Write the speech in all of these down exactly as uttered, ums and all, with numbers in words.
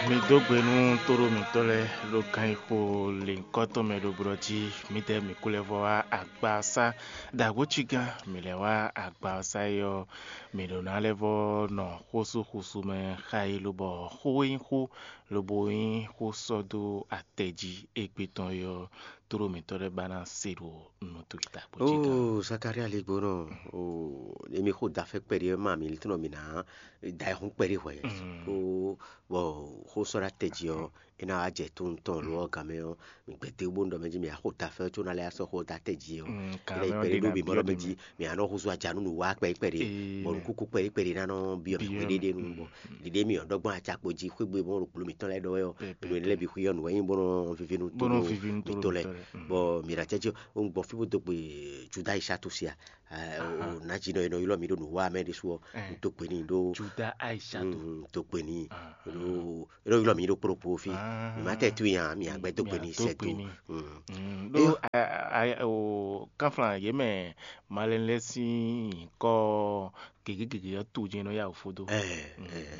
Mi dó gbe nú tóɖó mǐtɔn lɛ́ɛ ɖo ganxixo lěhunkɔtɔn mɛ ɖo blɔ́ jí. Mǐdɛɛ mǐ kú lɛ́ vɔ wá agba ɔ́ sá. Ɖo agbócígán mǐ lɛ́ wá agba ɔ́ sá é ɔ́, mǐ ɖo ná lɛ́ vɔ nɔ xósúxusú mɛ xá yi lobɔ xó e nyí xó lobo nyí xó sɔ́ dó atɛ jí égbé tɔn é ɔ́, tóɖó mǐtɔn lɛ́ɛ ba ná se ɖo nǔ towe ta kpó jí gán. Ó, Zakalía ligbónɔ, ó, emi xó da fɛ́ kpɛɖé wɛ ma mi litɔ́nɔ mi ná da ayihún kpɛɖé hwɛ. Ó, bɔ xó sɔ́ ɖo atɛ jí ɔ́, é ná wá jɛ tó ntɔn lo ɔ́ gan mɛ ɔ́, mi gbɛtɛ bó ɖɔ mɛ jí mi axó da fɛ́ có ná lɛ́ sɔ́ xó da atɛ jí ɔ́. Kan Énɛ́ mɛ ɔ́ kpɛɖé ɖe ɖó ná bǐ mɔ ɖɔ mɛ jí mi anɔ húzú aja nú nǔ wá kpɛɖé kpɛɖé, bɔ nǔkúkú kpɛɖé kpɛɖé ná nɔ byɔ́ mi xwé ɖéɖé nu bɔ ɖiɖe mi ɔ́ ɖɔgbɔn acakpo jí xwé gbe bɔn ɖo kplo mǐtɔn lɛ́ɛ ɖɔ wɛ ɔ́, nǔ énɛ́ lɛ́ɛ bǐ xwé ɔ́ nǔ wɛ nyí bó nɔ vivi nú bó nɔ vivi nú tó mǐtɔn lɛ́ɛ. Bɔ mǐ ɖo acɛ́ jí ɔ́, un gbɔ fí bó dó gbe Juda Ishatu sia. Nǎjínɔ e nɔ ylɔ́ mì ɖo nǔ wa mɛ ɖésú ɔ́, un dó gbe n'i ɖó Juda Aishatu. Un dó gbe n'i ɖó é nɔ ylɔ́ mì ɖó kplɔ́kplɔ́ fí. Mǐ ma tɛ tunwun nya mǐ agbɛ́ dó gbe n'i sɛ́ dó. Ɖó kánflán yě mɛ malɛnu lɛ́ɛ sín nyǐkɔ gěgé gěgé ɔ́ to jɛ́n nɔ yá wǔ fó dó.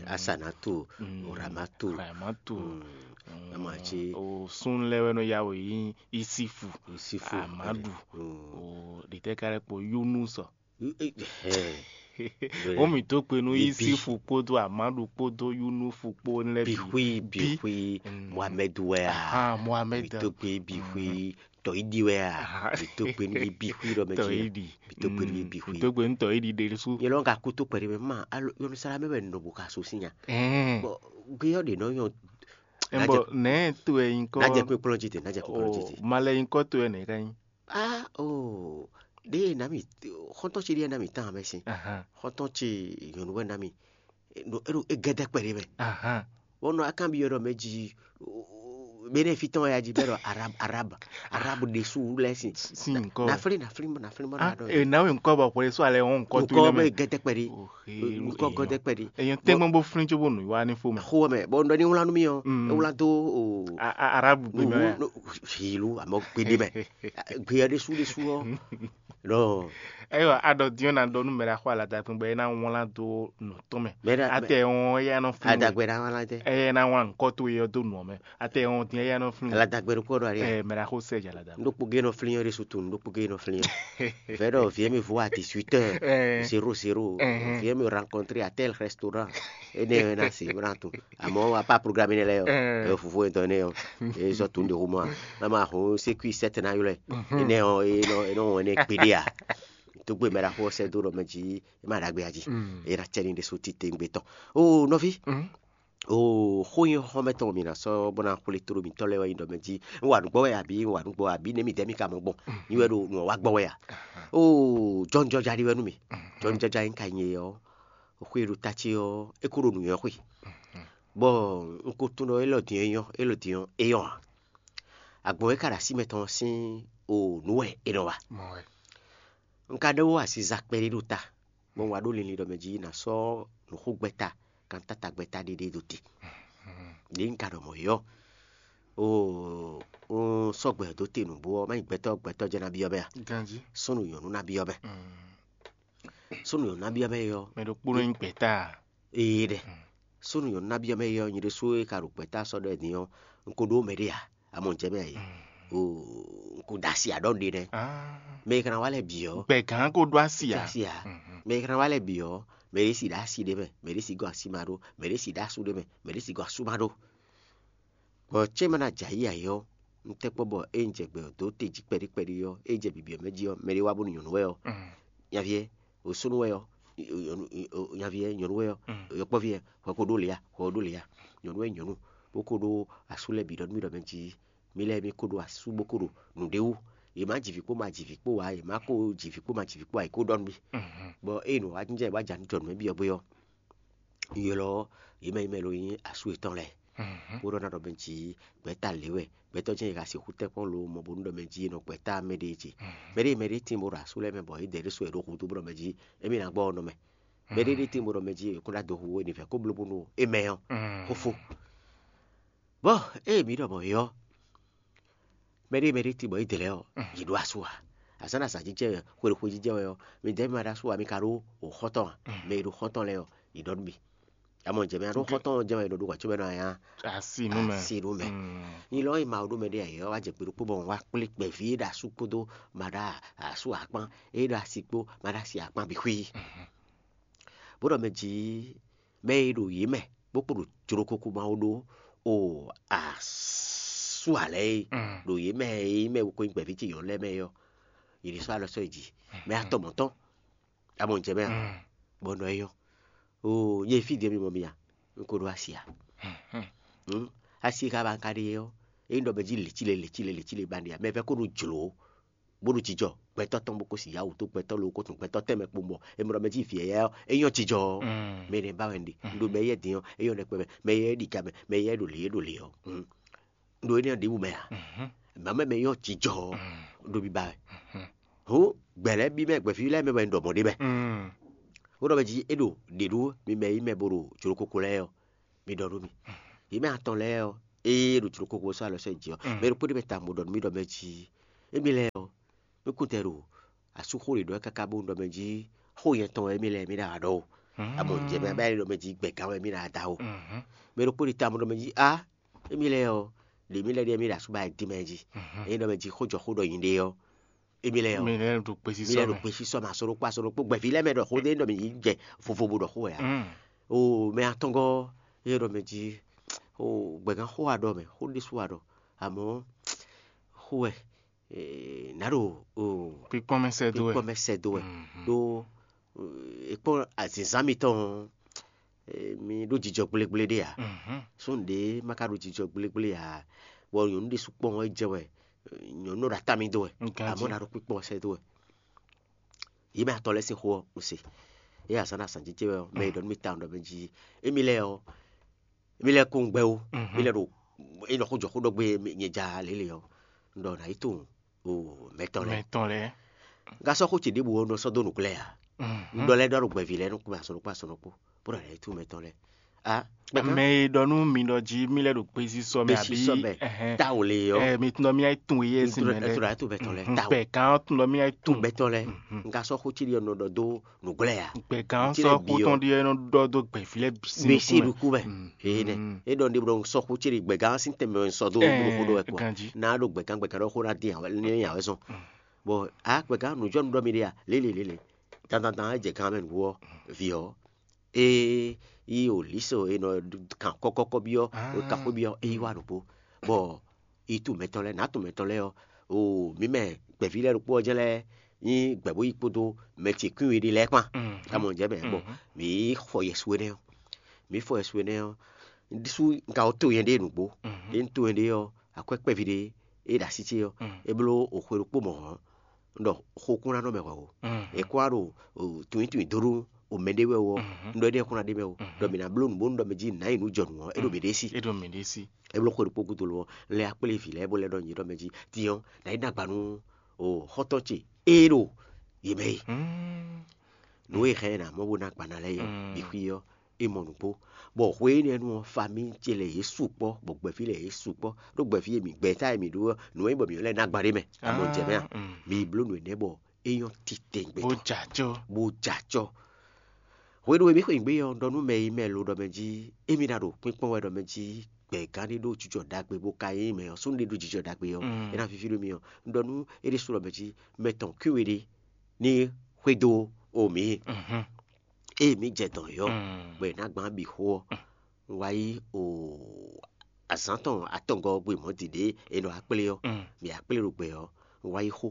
Asanatu, Ramatu, Ramatu. Ama ce o sun lɛ́ɛ wɛ nɔ yá wǔ yí Isifu, Isifu, Amadu, o ɖětɛ́ ka lɛ́ kpo Yunusɔ. Wọ́n mì tó kpe nú Isifu kpódó Amadu kpódó Yunufu kpó lɛ́ɛ bǐ. Bixwi, bixwi, Mohamɛdu wɛ a? Ahan, Mohamɛdu. Mì tó kpe bixwi, tɔyídi wɛ a? Mì tó kpe nú bixwi ɖɔ mɛ ce. Tɔyídi. Mì tó kpe nú bixwi. Mì tó kpe nú tɔyídi ɖe sú. Yɛ lɔ ka kú tó kpɛɖé mɛ ma, alo Yerusalɛm wɛ nɔ bó ka so sín nya. Bɔ gbé ɔ́ ɖe nɔ nyɔ. Bɔ nɛɛ to wɛ nyikɔ. Najɛ kpe kplɔn jí te, najɛ kpe kplɔn jí te. Malɛ nyikɔ to wɛ nɛɛ ka nyí. Ah, oh, ɖe nami, xɔntɔn ce ɖe nami tán mɛ sin. Xɔntɔn ce nyɔnu wɛ nami. No, eno e gɛdɛ kpɛɖé mɛ. Bɔ nɔ akan bi yɔɖɔ mɛ ji. Bene fitɔn ya ji bɛ ɖɔ arab arab arab ɖesu lɛ sin. Sin nkɔ. Nafli nafli nafli mɔ na ɖɔ. E nawe nkɔ bɔ xɔle so alɛ wɔn nkɔ to. Nkɔ mɛ gɛdɛ kpɛɖé. Nkɔ gɛdɛ kpɛɖé. Eyan tɛgbọn bo flin tso bo nu wa ni fo mɛ. Xo mɛ bɔ ndɔ ni wlan nu mi ɔ. Ewlan do o. Arabu gbe mɛ. Hilu amɔ gbeɖe mɛ. Gbe ya ɖesu ɖesu ɔ. Lɔ. Eyɔ aɖɔ diɔ na ɖɔ nu mɛ ɖe axɔ alada kpɛn bɔ e na wlan do nɔ tɔn mɛ. Mɛ ɖe atɛ wɔn eya nɔ flin. Adagbe na wlan tɛ. Eya na wlan nkɔ to yɔ do nɔ mɛ. Atɛ wɔn diɛ eya nɔ flin. Alada gbɛ ɖokpɔ ɖo ali. Ɛ mɛ ɖe axɔ sɛ dza alada. Ɖokpɔ ge nɔ flin yɔ ɖesu to ɖokpɔ ge nɔ flin yɔ. Vɛ ɖɔ viɛ mi vo à dix-huit heures. Zéro zéro. Viɛ mi rencontrer à tel restaurant. Ene na se bra to. Àmọ́ apá programme nɛ lɛ yɔ. Ɛ fofo etɔn nɛ yɔ. E zɔ to ɖe xo mɔ. Mama ho sécurité sɛtɛ na yɔ lɛ. Ene ɔ e nɔ e nɔ wɔn ne kpeɖe a. Tó gbé mɛ ɖaxó ɔ́ sɛ́ dó ɖɔ mɛ jí é má ɖagbe a jí. É ná cɛ ní ɖésú titewungbe tɔn. Oo nɔví, oo xó nyí xɔxɔ́mɛ tɔn mǐ ná sɔ́ bó ná xwlé tló mǐtɔn lɛ́ɛ wɛ nyí ɖɔ mɛ jí un wa nǔ gbɔ wɛ abǐ un wa nǔ gbɔ abǐ nɛ̌ mǐdɛɛ mì ka mɔ gbɔn? Nyí wɛ ɖo nǔ ɔ́ wa gbɔ wɛ a? Oo jɔnjɔja ɖi wɛ nú mì. Jɔnjɔja nyí ka nyí é ɔ́, xwé e ɖo ta ce ɔ́, é kó ɖo nǔnywɛ́ xwe. Bɔ un ko tunwun ɖɔ élɔ́ din é nyɔ́, élɔ́ din ɔ́, é nyɔ́ ǎ. Agbɔ̌n e ka ɖo así mɛtɔn ɔ́ sín o nǔ wɛ è nɔ wa. Un ka ɖe wó aziza kpɛɖé ɖo ta, bɔ un wá ɖó linlin ɖɔ mɛ jí ná sɔ́ nǔxogbɛ́ta, kantátagbɛ́ta ɖé ɖé ɖo te. Ɖě un ka ɖɔ mɔ̌ é ɔ́, oo un sɔ́ gbɛ dó te nǔgbó ɔ́, má nyí gbɛtɔ́ gbɛtɔ́ jɛ́n ná byɔ́ mɛ a? Súnnu nyɔ̌nu ná byɔ́ mɛ. Súnnu nyɔ̌nu ná byɔ́ mɛ é ɔ́, mɛ ɖokpónɔ nyí gbɛ̌ta. Ee ɖɛ. Súnnu nyɔ̌nu ná byɔ́ mɛ é ɔ́, nyi ɖésú e ka ɖo gbɛ̌ta sɔ́ ɖɔ ɛ din ɔ́, un ko ɖó mɛ ɖé a? Amɔ jɛ mɛ a yě. Oo, un ko ɖo asi aɖɔ́ ɖe nɛ́. Mɛ e ka ná wá lɛ́ bǐ ɔ́, gbɛ̌gán ko ɖó asi ǎ. Asi ǎ. Mɛ e ka ná wá lɛ́ bǐ ɔ́, mɛ ɖé si ɖo asi ɖé mɛ, mɛ ɖé si gɔ́ asi ma ɖó, mɛ ɖé si ɖó asú ɖé mɛ, mɛ ɖé si gɔ́ asú ma ɖó. Bɔ cɛ́ ma ná jɛ ayǐ ayǐ ɔ́, un tɛ́ kpɔ́ bɔ ée un jɛ gbɛ ɔ́ dó te jí kpɛɖí kpɛɖí ɔ́, ée jɛ bǐbí ɔ́ mɛ jí ɔ́, mɛɖé wá bónú nyɔ̌nu wɛ ɔ́, nyaví ɛ, o súnnu wɛ ɔ́, nyaví ɛ nyɔ̌nu wɛ ɔ́, yɔkpɔ́ví ɛ, hwɛ ko ɖó lě a, hwɛ ko ɖó lě a, nyɔ̌nu wɛ nyɔ̌nu, bó ko ɖó asú lɛ́ɛ bǐ ɖɔ nú mì ɖɔ mɛ jí mì lɛ́ɛ mì ko ɖó asú bó ko ɖo nǔɖé wú. Yě má ji vǐ kpó ma ji vǐ kpó ǎ, yě má ko ji vǐ kpó ma ji vǐ kpó ǎ, yě ko ɖɔ nú mì. Bɔ ée nǔ wá jínjɔ́n wá jɛ nǔ jɔ nǔ mɛ byɔ́ gbé ɔ́, un ylɔ́ yě mɛ yi mɛ lo nyí asú yětɔn lɛ́ɛ. Bó ɖɔ ná ɖɔ mɛ jí gbɛ̌ta lě wɛ, gbɛtɔ́ jɛ́n è ka sixú tɛ́ kpɔ́n lo mɔ bónú ɖɔ mɛ jí è nɔ gbɛ̌ta mɛ ɖé ce. Mɛ ɖé mɛ ɖé tíin bó ɖo asú lɛ́ɛ mɛ bɔ é dɛ ɖé so è ɖó húzú bó ɖɔ mɛ jí émí ná gbɔ ɔ́ nɔ mɛ. Mɛ ɖé ɖé tíin bó ɖɔ mɛ jí è kún ɖó ado hu é ní vɛ́ kó bló bónú é mɛ ɔ́, xófó. Bɔ ée mǐ ɖɔ mɔ̌ é ɔ́, mɛ ɖé mɛ ɖé tíin bɔ é dɛ lɛ́ɛ ɔ́, yě ɖó asú ǎ. Azǎn ɖo azǎn jijɛ wɛ, xwe ɖo xwe jijɛ wɛ ɔ́, midɛɛ mì ma ɖó asú ǎ, mi ka ɖó xɔ́ntɔn ǎ. Mɛ e ɖo xɔ́ntɔn lɛ́ɛ ɔ́, yě ɖɔ nú mì. Amɔ jɛ mɛ aɖó xɔtɔn jɛ mɛ ɖo ɖo wàcó mɛ nɔ anya asi nú mɛ asi ɖó mɛ. Nyi lɔ yi ma ɖó mɛ ɖé ayɛ wa jɛ gbeɖokpó bɔ wa kplé kpɛví e ɖo asú kpódó ma ɖo asú akpán e ɖo asi kpó ma ɖo asi akpán bǐ xwí. Bó ɖɔ mɛ jí mɛ e ɖo yě mɛ bó kpo ɖo jlokoko ma wo ɖó o asú alɛ e ɖo yě mɛ e mɛ ko nyí gbɛ̌ví ce yɔ̌ lɛ́ɛ mɛ ɔ́, yě ɖésú alɔ sɔ́ yi jí mɛ atɔn mɔ̌tɔn. Amɔ jɛ mɛ a bɔ nɔ é yɔ́n. Oo, nyɛ fí din mi mɔ mi a? Un ko ɖó asi a? Hmm. Asi e ka ba un ka ɖe ɔ́, é nyí ɖɔ mɛ jí lěcíle lěcíle lěcíle ba ɖe a? Mɛ vɛ́ ko ɖo jlǒ bó ɖo jijɔ, gbɛtɔ́ tɔn bó ko si yá wǔ tó gbɛtɔ́ lóko tún gbɛtɔ́ tɛnmɛ kpowun bɔ è mɔ ɖɔ mɛ jí vǐ ɛyɛ ɔ́, é nyɔ́ jijɔ ɔ́. Mɛ nɛ ba wɛ un ɖe. Un ɖo mɛ yɛ din ɔ́, é nyɔ́ ɖɛkpɛ mɛ, mɛ yɛ ɖi ga mɛ, mɛ yɛ ɖo lě é ɖo lě ɔ́. Un ɖo énɛ́ ɖěbǔ mɛ a? Mǎ mɛ mɛ nyɔ́ jijɔ ɔ́, ɖo biba wɛ. Hǔn gbɛ̌ lɛ́ɛ bí mɛ gbɛ̌ví lɛ́ɛ mɛ wɛ un ɖɔ mɔ̌ ɖe mɛ. Ó ɖɔ mɛ jí é ɖo ɖě ɖú mi mɛ yí mɛ bo ɖo jlokoko lɛ́ɛ ɔ́, mi ɖɔ nú mì. Yě mɛ atɔn lɛ́ɛ ɔ́, ée ɖo jlokoko sɔ́ alɔ sɔ́ yi jí ɔ́, mɛ ɖokpó ɖé mɛ tawun bó ɖɔ nú mì ɖɔ mɛ jí émí lɛ́ɛ ɔ́, mí kún tɛ ɖo asúxó ɖě ɖɔ káká bó ɖɔ mɛ jí xó nyɛ tɔn wɛ émí lɛ́ɛ mí ɖo awa ɖɔ o. Amɔ jɛ mɛ bá ɖɔ mɛ jí gbɛ̌gán wɛ mí ɖo ada o. Mɛ ɖokpó ɖé tawun bó ɖɔ mɛ jí á émí lɛ́ɛ ɔ́, ɖě mí lɛ́ ɖíe mí ɖo asúba e dín mɛ jí. Ényí ɖɔ mɛ jí xó jɔ xó ɖɔ nyi ɖe ɔ́, émí lɛ́ɛ ɔ́, mi lɛ ɖo kpesi mí sɔ lɛ́ ɖo mɛ kpesi sɔ́ mɛ aso ɖokpó aso ɖokpó gbɛ̌ví lɛ́ɛ mɛ ɖɔ xó ɖé ɖɔ mɛ yí jɛ vovo bo ɖɔ xó wɛ ǎ. O mɛ atɔngɔ́ é ɖɔ mɛ jí o gbɛ̌gán xó wa ɖɔ mɛ xó ɖésú wa ɖɔ, àmọ́ xó wɛ eh, nǎ ɖo o kpikpɔn mɛ sɛ do wɛ kpikpɔn mɛ sɛ dó wɛ ɖó eh, e kpɔn azǐnzán mitɔn ɔ́, eh, mi ɖó jijɔ gblégblé ɖé ǎ. Sɔ́n ɖě ma ka ɖo jijɔ gblégblé ǎ, bɔ nyɔ̌nu ɖé sukpɔ́ ɔ́ é jɛ wɛ, eh, nyɔ̌nu ɖo atá mi dó wɛ, Ganjí. Amɔ̌ ná ɖo kpíkpɔ́n ɔ́ sɛ́ dó wɛ. Yě mɛ atɔn lɛ́ɛ sín xó ɔ́, un se. É azǎn ɖo azǎn jijɛ wɛ ɔ́, mɛ e ɖɔ nú mi tawun ɖɔ mɛ jí émí lɛ́ɛ ɔ́, émí lɛ́ɛ kó un gbɛ́ ó, mí lɛ́ ɖo é nɔ xó jɔ xó ɖɔ gbé nyɛ ja lě lě ɔ́, un ɖɔ nǎ yi tunwun o mɛtɔn lɛ́ɛ. Mɛtɔn lɛ Un ka sɔ́ xó ce ɖěbǔ ɔ́ nɔ sɔ́ dó nǔglɛ́ ǎ. Un ɖɔ lɛ́ɛ ɖɔ ɖo gbɛ̌ví lɛ́ɛ nukún mɛ asɔnukún asɔnukún, bó ɖɔ nǎ yi tunwun mɛtɔn lɛ́ɛ. A mɛ e ɖɔ nú mi ɖɔ jí mí lɛ ɖo kpesi sɔ mɛ bɛsi àbí sɔ mɛ ɛhɛn. Tawo le ɔ́, Ɛ, mi tun ɖɔ mí ayi tun yeye si mɛ lɛ ɛtò ɖo mɛtɔn lɛ́ɛ tawo. gbɛ̀gán tun ɖɔ mí ayi tun Tun mɛtɔn lɛ́ɛ. Un ka sɔ́ xó ce ɖɔ nɔ ɖɔ dó nǔglɛ́ ǎ. gbẹ̀gán Tí sɔ lè bi kó ɔ. Tɔn ɖi ɛnɔ ɖɔ dó gbɛ̀fí lɛ bisi Bisi ɖukú mɛ. Ee nɛ. Mm. E ɖɔ ɖe ɖɔ sɔ xó ce ɖi gbɛ̀gán sín tɛnmɛ sɔ dó Ɛɛ, ɖo xó ɖɔ wɛ kɔ. ganjí. N'a ɖo gbɛ̀gán gbɛ̀gán ɖɔ xó ná dín awɛ ní awɛ zɔn. Bɔ a gbɛ̀gán nǔjɔnú ɖɔ mi ɖe a lélelélele. Dandandan e jɛ gán mɛ nǔgbó ɔ́, vǐ ɔ́, é yí o lísɔ e nɔ kan kɔ́kɔ́kɔ́ byɔ́, Ah. o kan xó byɔ́, é yí wá ɖokpó. Bɔ yi tu mɛtɔn lɛ́ɛ, nǎ tu mɛtɔn lɛ́ɛ ɔ́, o mǐ mɛ gbɛ̌ví lɛ́ɛ ɖokpó ɔ́ jɛ́n lɛ́ɛ nyí gbɛ̌ bó yí kpódó mɛ ce kwín we ɖé lɛ́ɛ kpán. Mm. Amɔ jɛ mɛ bɔ mǐ xɔ yɛsu énɛ́ ɔ́, mǐ fɔ yɛsu énɛ́ ɔ́, ɖísú un ka wɔ to nyɛ ɖé nǔgbó. Ɖé un to nyɛ ɖé ɔ́, akwɛ́ kpɛví ɖé é ɖo así ce ɔ́, é bló o xwe ɖokpó mɔ̌ ɔ́, un ɖɔ xokúnánɔ mɛ hwɛ o. È kó wá ɖo tunwintunwin dó ɖó o mɛ ɖé wɛ o ɔ́, un ɖɔ éɖée xó ná ɖe mɛ o. Ɖɔ mǐ ná bló nǔ bónú ɖɔ mɛ jí nǎ nyi nǔ jɔ nǔ ɔ́, é ɖo mǐ ɖésí. É ɖo mǐ ɖésí. É bló xwe ɖokpó gúdo lo ɔ́, lɛ́ akplé vǐ lɛ́ɛ bó lɛ́ ɖɔ nyi ɖɔ mɛ jí, din ɔ́, nǎ yi ná gba nú o xɔ́ntɔn ce é ɖo yě mɛ e. Nǔ e hɛn ná mɔ bó ná gba ná lɛ́ɛ yɔ bǐ xwí ɔ́, é mɔ nǔgbó. Bɔ hwe énɛ́ nu ɔ́, famí ce lɛ yě su kpɔ́, bɔ gbɛ̌ví lɛ yě su kpɔ́, ɖó gbɛ̌ví e mǐ gbɛ̌ta e mǐ ɖó ɔ́, nǔ e nyí bɔ mǐ lɛ́ ná gba ɖé mɛ. Amɔ jɛ mɛ a? Mǐ bló nǔ énɛ́ bɔ é nyɔ́ titɛngbɛ Bó jɛ acɔ́. Bó jɛ acɔ́. Hwenu e mǐ xweyǐgbe ɔ́, un ɖɔ nú mɛ e mɛ lo ɖɔ mɛ jí émí ná ɖo kpínkpɔ́n wɛ ɖɔ mɛ jí gbɛ̌gán ɖé ɖó jijɔ ɖagbe bó ka nyí mɛ ɔ́, súnnu ɖé ɖó jijɔ ɖagbe ɔ́, é ná víví nú mì ɔ́. Un ɖɔ nú é ɖésú ɖɔ mɛ jí mɛ tɔn kwín we ɖé ní xwedó o mǐ. Ée mǐ jɛ dɔ̌n yɔ́, bɔ è nǎ gbǎn bǐ xó ɔ́, un wá yí o azǎn tɔn atɔngɔ́ ɔ́ gbe mɔ̌ din ɖě è nɔ wá kplé ɔ́, mǐ wá kplé ɖo gbɛ ɔ́, un wá yí xó,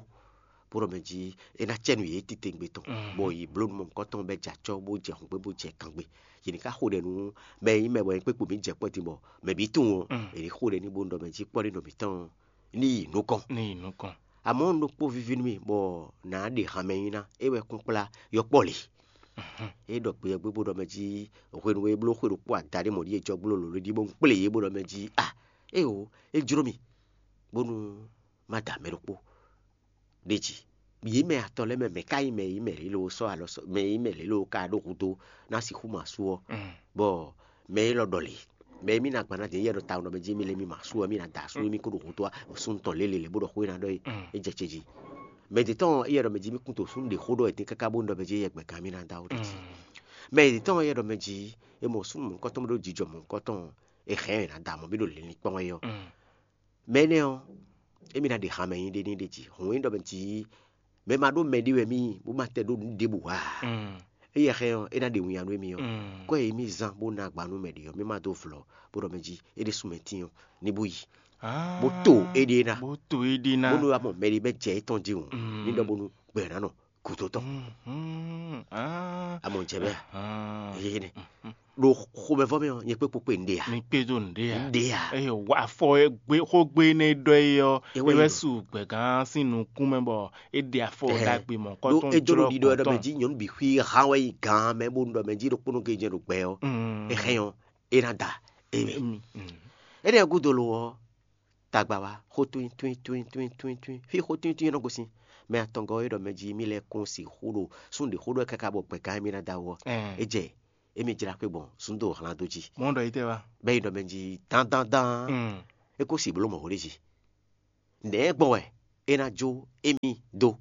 bó ɖɔ mɛ jí é ná cɛ nú yě titewungbe tɔn, bɔ yě bló nú mɔ̌hunkɔtɔn bɔ é jɛ acɔ́, bó jɛ hǔngbé, bó jɛ kangbe. Yě ní ká xo ɖɛ nú mɛ e nyí mɛ bɔ é kpé kpo mǐ jɛ kpɔ́ din bɔ mɛ bǐ tunwun ɔ́, è ní xó ɖɛ n'i bónú ɖɔ mɛ jí kpɔ́ ɖé nɔ mǐtɔn ní yi nukɔn. Ní yi nukɔn. Amɔ̌ un ɖokpó víví nú mì bɔ nǎ ɖe han mɛ nyi ná, é wɛ kún kplá yɔkpɔ́ lě. É ɖɔ gbe ɔ́ gbé bó ɖɔ mɛ jí hwenu e é bló xwe ɖokpó ada ɖé mɔ̌ ɖíe jɔ gbló lǒ ɖíɖí bó un kplé yě bó ɖɔ mɛ jí a éeǒ, é jló mì bónú má da mɛ ɖokpó ɖ'é jí. Yě mɛ atɔn lɛ́ɛ mɛ, mɛ̌ ká nyí mɛ e nyí mɛ lě loo sɔ́ alɔ sɔ́ mɛ e nyí mɛ lě loo ka ɖó hudó ná sixú mɔ asú ɔ́? Bɔ mɛ élɔ́ ɖɔ lě, mɛ e mì ná gban ná din yɛ ɖɔ tawun ɖɔ mɛ jí mì lé mì mɔ asú ɔ́, mì ná da asú émí kó ɖo hudó ɔ́, súnnu tɔn lě lě lě bó ɖɔ xó e ná ɖɔ é, é jɛ ce jí. Mɛ ɖě tɔn éyɛ́ ɖɔ mɛ jí mì kún to súnnu ɖě xó ɖɔ é dín káká bónú ɖɔ mɛ jí yɛ gbɛ̌gán mì ná dó awu ɖě jí. Mɛ yětɔn e ɖɔ mɛ jí, e mɔ súnnu mɔ̌hunkɔtɔn bó ɖó jijɔ mɔ̌hunkɔtɔn, e hɛn ɛ ná da mɔ mì ɖo linlin kpɔ́n wɛ ɔ́, mɛ énɛ́ ɔ́, émí ná ɖe hanmɛ nyi ɖé n'i ɖ'é jí. Hǔn e ɖɔ mɛ jí, mɛ ma ɖó mɛ ɖé wɛ mì nyí, bó ma tɛ ɖó nǔ ɖěbǔ ǎ. Éyɛ́ hɛn ɔ́, é ná ɖe winnyá nú émí ɔ́. Kɔ́ e mì zán bó ná agba nú mɛ ɖě ɔ́, mì ma dó vlɔ̌, bó ɖɔ mɛ jí é ɖésú mɛ tíin ɔ́, ní bó yi, bó to éɖée ná, bó to éɖée ná. Bónú wá mɔ mɛ ɖé bɛ́ jɛ étɔn jí hǔn, ní ɖɔ bónú gbɛ ná nɔ gǔdo tɔn. Amɔ jɛ bɛ́ a? Yéyénɛ. Ɖo xomɛvɔ́ mɛ ɔ́, nyɛ kpé kpokpé un ɖe a? Mi kpé dó nǔɖé a? Un ɖe a? Eye wa afɔ e gbé xógbé énɛ́ e ɖɔ é ɔ́, É wɛ é wɛ yi ɖɔ. Su gbɛ̌gán sín nukún mɛ bɔ é ɖe afɔ Ɛhɛn. Ɖagbe mɔ̌kɔtɔn Ɖó é dó ɖo ɖiɖɔ ɖɔ mɛ jí nyɔ̌nu bǐ xwí hán wɛ yi gǎn mɛ bónú ɖɔ mɛ jí ɖokpónɔ ke jɛ ɖo gbɛ ɔ́, é hɛn ɔ́, é ná da émí. Énɛ́ ɔ́ gúdo lo ɔ́, tagba wá xó twín twín twín twín twín twín. Fí xó twín twín nɔ gosín. Mɛ atɔngɔ́ e ɖɔ mɛ jí mì lɛ́ kún sixú ɖo sún ɖě xó ɖɔ káká bɔ gbɛ̌gán émí ná da wɔ. É jɛ émí jlá xwé gbɔn zúndo hlán dó jí. Mɔ̌ ɖɔ yi tɛ wá. Bɛ́ yi ɖɔ mɛ jí dán dán dán. É kó si bló mɔ̌ ɖé jí. Nɛ̌ gbɔn wɛ é ná jó émí dó,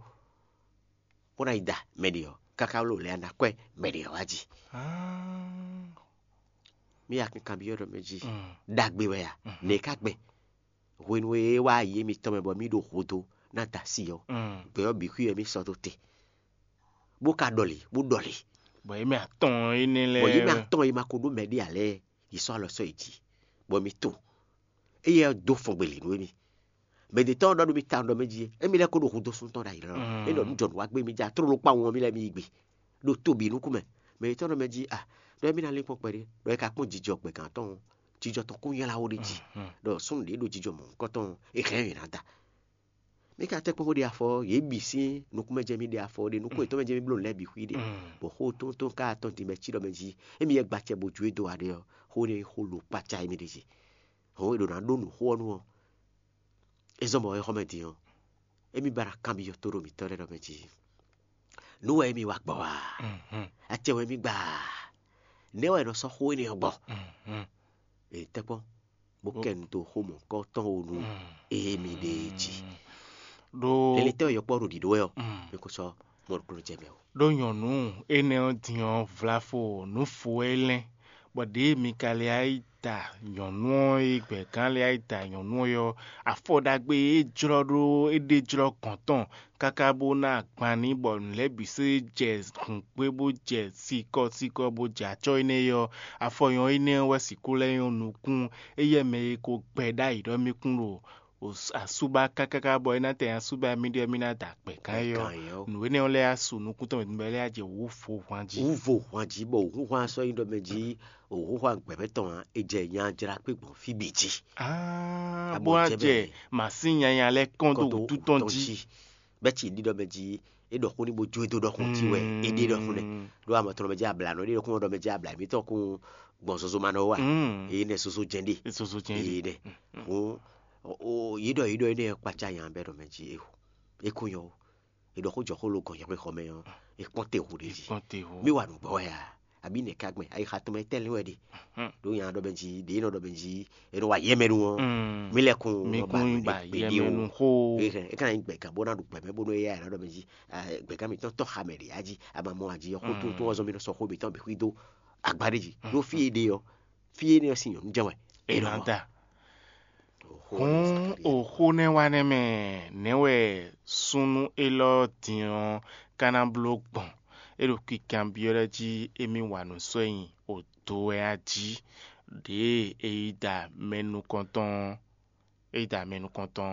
bó ná yi da mɛ ɖě ɔ́, káká wló lɛ́ɛ ná kwɛ́ mɛ ɖě ɔ́ wá jí? Mí ya kankanbyɔ́ ɖɔ mɛ jí, ɖagbe wɛ a? Nɛ̌ ka gbɛn? Hwenu e é wá yi émítɔn mɛ bɔ mí ɖo hǔdo ná da asi ɔ́, gbɛ ɔ́ bǐ xwí wɛ mí sɔ́ dó te, bó ka ɖɔli, bó ɖɔli. Bɔ émí atɔn énɛ́ lɛ́ɛ Bɔ yě mɛ atɔn e ma ko ɖó mɛ ɖé ǎ lɛ́ɛ, yě sɔ́ alɔ sɔ́ yi jí, bɔ mí to. Éyɛ́ ɔ́ dó fɔngbe lě nú émí. Mɛ ɖě tɔn ɔ́ ɖɔ nú mì tawun ɖɔ mɛ jí, émí lɛ́ ko ɖo hudó súnnu tɔn ɖ'ayǐ lɔ. É ɖɔ nú jɔnǔ wá gbé mì já tlóló kpawun ɔ́ mì lɛ́ mì yi gbe ɖo to bǐ nukún mɛ. Mɛ yětɔn ɖɔ mɛ jí a, ɖɔ émí ná lín kpɔ́n kpɛɖé, ɖɔ é ka kpɔ́n jijɔ gbɛ̌gán tɔn ɔ́, jijɔ tɔn kún nylá wó ɖ'é jí, ɖɔ súnnu ɖě ɖo jijɔ mɔ̌hunkɔtɔn ɔ́, é hɛn ɛ ná da. Mì ka tɛ́ kpɔ́n bó ɖe afɔ ɔ́, yě bǐ sín nukún mɛ jɛ mì ɖe afɔ ɔ́ ɖe, nukún yětɔn mɛ jɛ mì bló nǔ lɛ́ɛ bǐ xwí ɖe, bɔ xó tóntɔ́n ka atɔn din bɔ é cí ɖɔ mɛ jí, émí yɛ gba acɛ bó jó e dó wa ɖe ɔ́, xó énɛ́ nyí xó lo kpácá émí ɖ'é jí. Hɔn e ɖo ná ɖó nǔ xó ɔ́ nú ɔ́, é zɔ́n bɔ é xɔ mɛ din ɔ́, émí ba ná kanbyɔ́ tóɖo mǐtɔn lɛ́ɛ ɖɔ mɛ jí: Nǔ wɛ émí wa gbɔ a? Acɛ wɛ émí gba a? Nɛ̌ wɛ è nɔ sɔ́ xó énɛ́ ɔ́ gbɔ? È tɛ́ kpɔ́n, bó kɛ nu dó xó mɔ̌hunkɔtɔn ó nú émí ɖée jí. Ɖó Lɛlɛtɛ́ wɛ yɔkpɔ́ ɖo ɖiɖó wɛ ɔ́, mì ko sɔ́ mɔ ɖokpónɔ jɛ mɛ ó. Ɖó nyɔ̌nu énɛ́ ɔ́ din ɔ́, vlafo nǔ fo wɛ é lɛ́n, bɔ ɖěe Mikalia yi da nyɔ̌nu ɔ́ e gbɛ̌gán lɛ́ɛ yi da nyɔ̌nu ɔ́ ɔ́, afɔ ɖagbe e é jlɔ́ ɖó é ɖe jlɔ́ gɔ̌n tɔn káká bó ná agban n'i bɔ nǔ lɛ́ɛ bǐ sɔ́ jɛ hǔngbé bó jɛ sikɔ́sikɔ́ bó jɛ acɔ́ énɛ́ ɔ́, afɔ nyɔ̌ énɛ́ ɔ́ wɛ sixú lɛ́ nyɔ́ nukún éyɛ́ mɛ e ko gbɛ ɖ'ayǐ ɖɔ mì kún ɖo asúbá kákáká bɔ é ná tɛ asúbá mì ɖɔ mì ná da gbɛ̌gán é ɔ́. Nǔ énɛ́ ɔ́ lɛ́ɛ á su nukún tɔn mɛ bɔ é lɛ́ á jɛ wǔ vo hwan jí. Wǔ vo hwan jí bɔ wǔhúnhwan sɔ́ nyí ɖɔ mɛ jí wǔhúnhwan gbɛ̌mɛ tɔn ǎ, è jɛ nya jlá kpé gbɔn fí bǐ jí. Bó ná jɛ mǎsín nyanya lɛ́ɛ kɔn dó wútu tɔn jí. Bɛ́ ci ɖiɖɔ mɛ jí é ɖɔ xó ní bó jó e dó ɖɔxun jí wɛ é ɖe ɖɔxun nɛ. Ɖó amɔ tɔnɔ mɛ jí abla nɔ ɖe ɖɔxun ɖɔ mɛ jí abla mǐtɔn kún gbɔn zozo ma nɔ wa. Èyí nɛ zozo jɛn ɖe. Zozo jɛn ɖe. Èyí nɛ. Hɔn yí ɖɔ yí ɖɔ énɛ́ kpácá nya bɛ ɖɔ mɛ jí é kún nyɔ. È ɖɔ xó jɔ xó lo gɔn nyɛxwé xɔ mɛ ɔ́, è kpɔ́n te hu ɖé jí. Mì wa nǔgbɔ wɛ a? Abǐ nɛ̌ ka gbɛn ayixa tɔn mɛ tɛ́nlin wɛ ɖe? Ɖó nya ɖɔ mɛ jí ɖě nɔ ɖɔ mɛ jí è nɔ wa yɛmɛ nu ɔ́, mì lɛ́ kún mi nɔ ba kún nǔ ba ɖé kpé ɖé yɛmɛ o. Nu xó. É hɛn é ka ná nyí gbɛ̌gán bó ná ɖu gbɛ̌mɛ bónú éyɛ́ ná ɖɔ mɛ jí gbɛ̌gán mǐtɔn tɔ́ xa mɛ ɖě a jí a ma mɔ a jí ɔ́ xó tóntó ɔ́ zɔ́n mì nɔ sɔ́ xó mǐtɔn bǐ xwí dó agbá ɖé jí. Ɖó fí e ɖe ɔ́, fí énɛ́ ɔ́ sín nyɔ̌nu jɛ́n wɛ. È nɔ da. Hǔn oxó nɛ́ wa nɛ́ mɛ nɛ̌ wɛ súnnu élɔ́ din ɔ́ ka ná bló gbɔn? É ɖo kikanbyɔ́ lɛ́ɛ jí émí wa nǔ sɔ́ nyi odo wɛ a jí? Ɖěe é yi da mɛ nukɔntɔn ɔ́, é yi da mɛ nukɔntɔn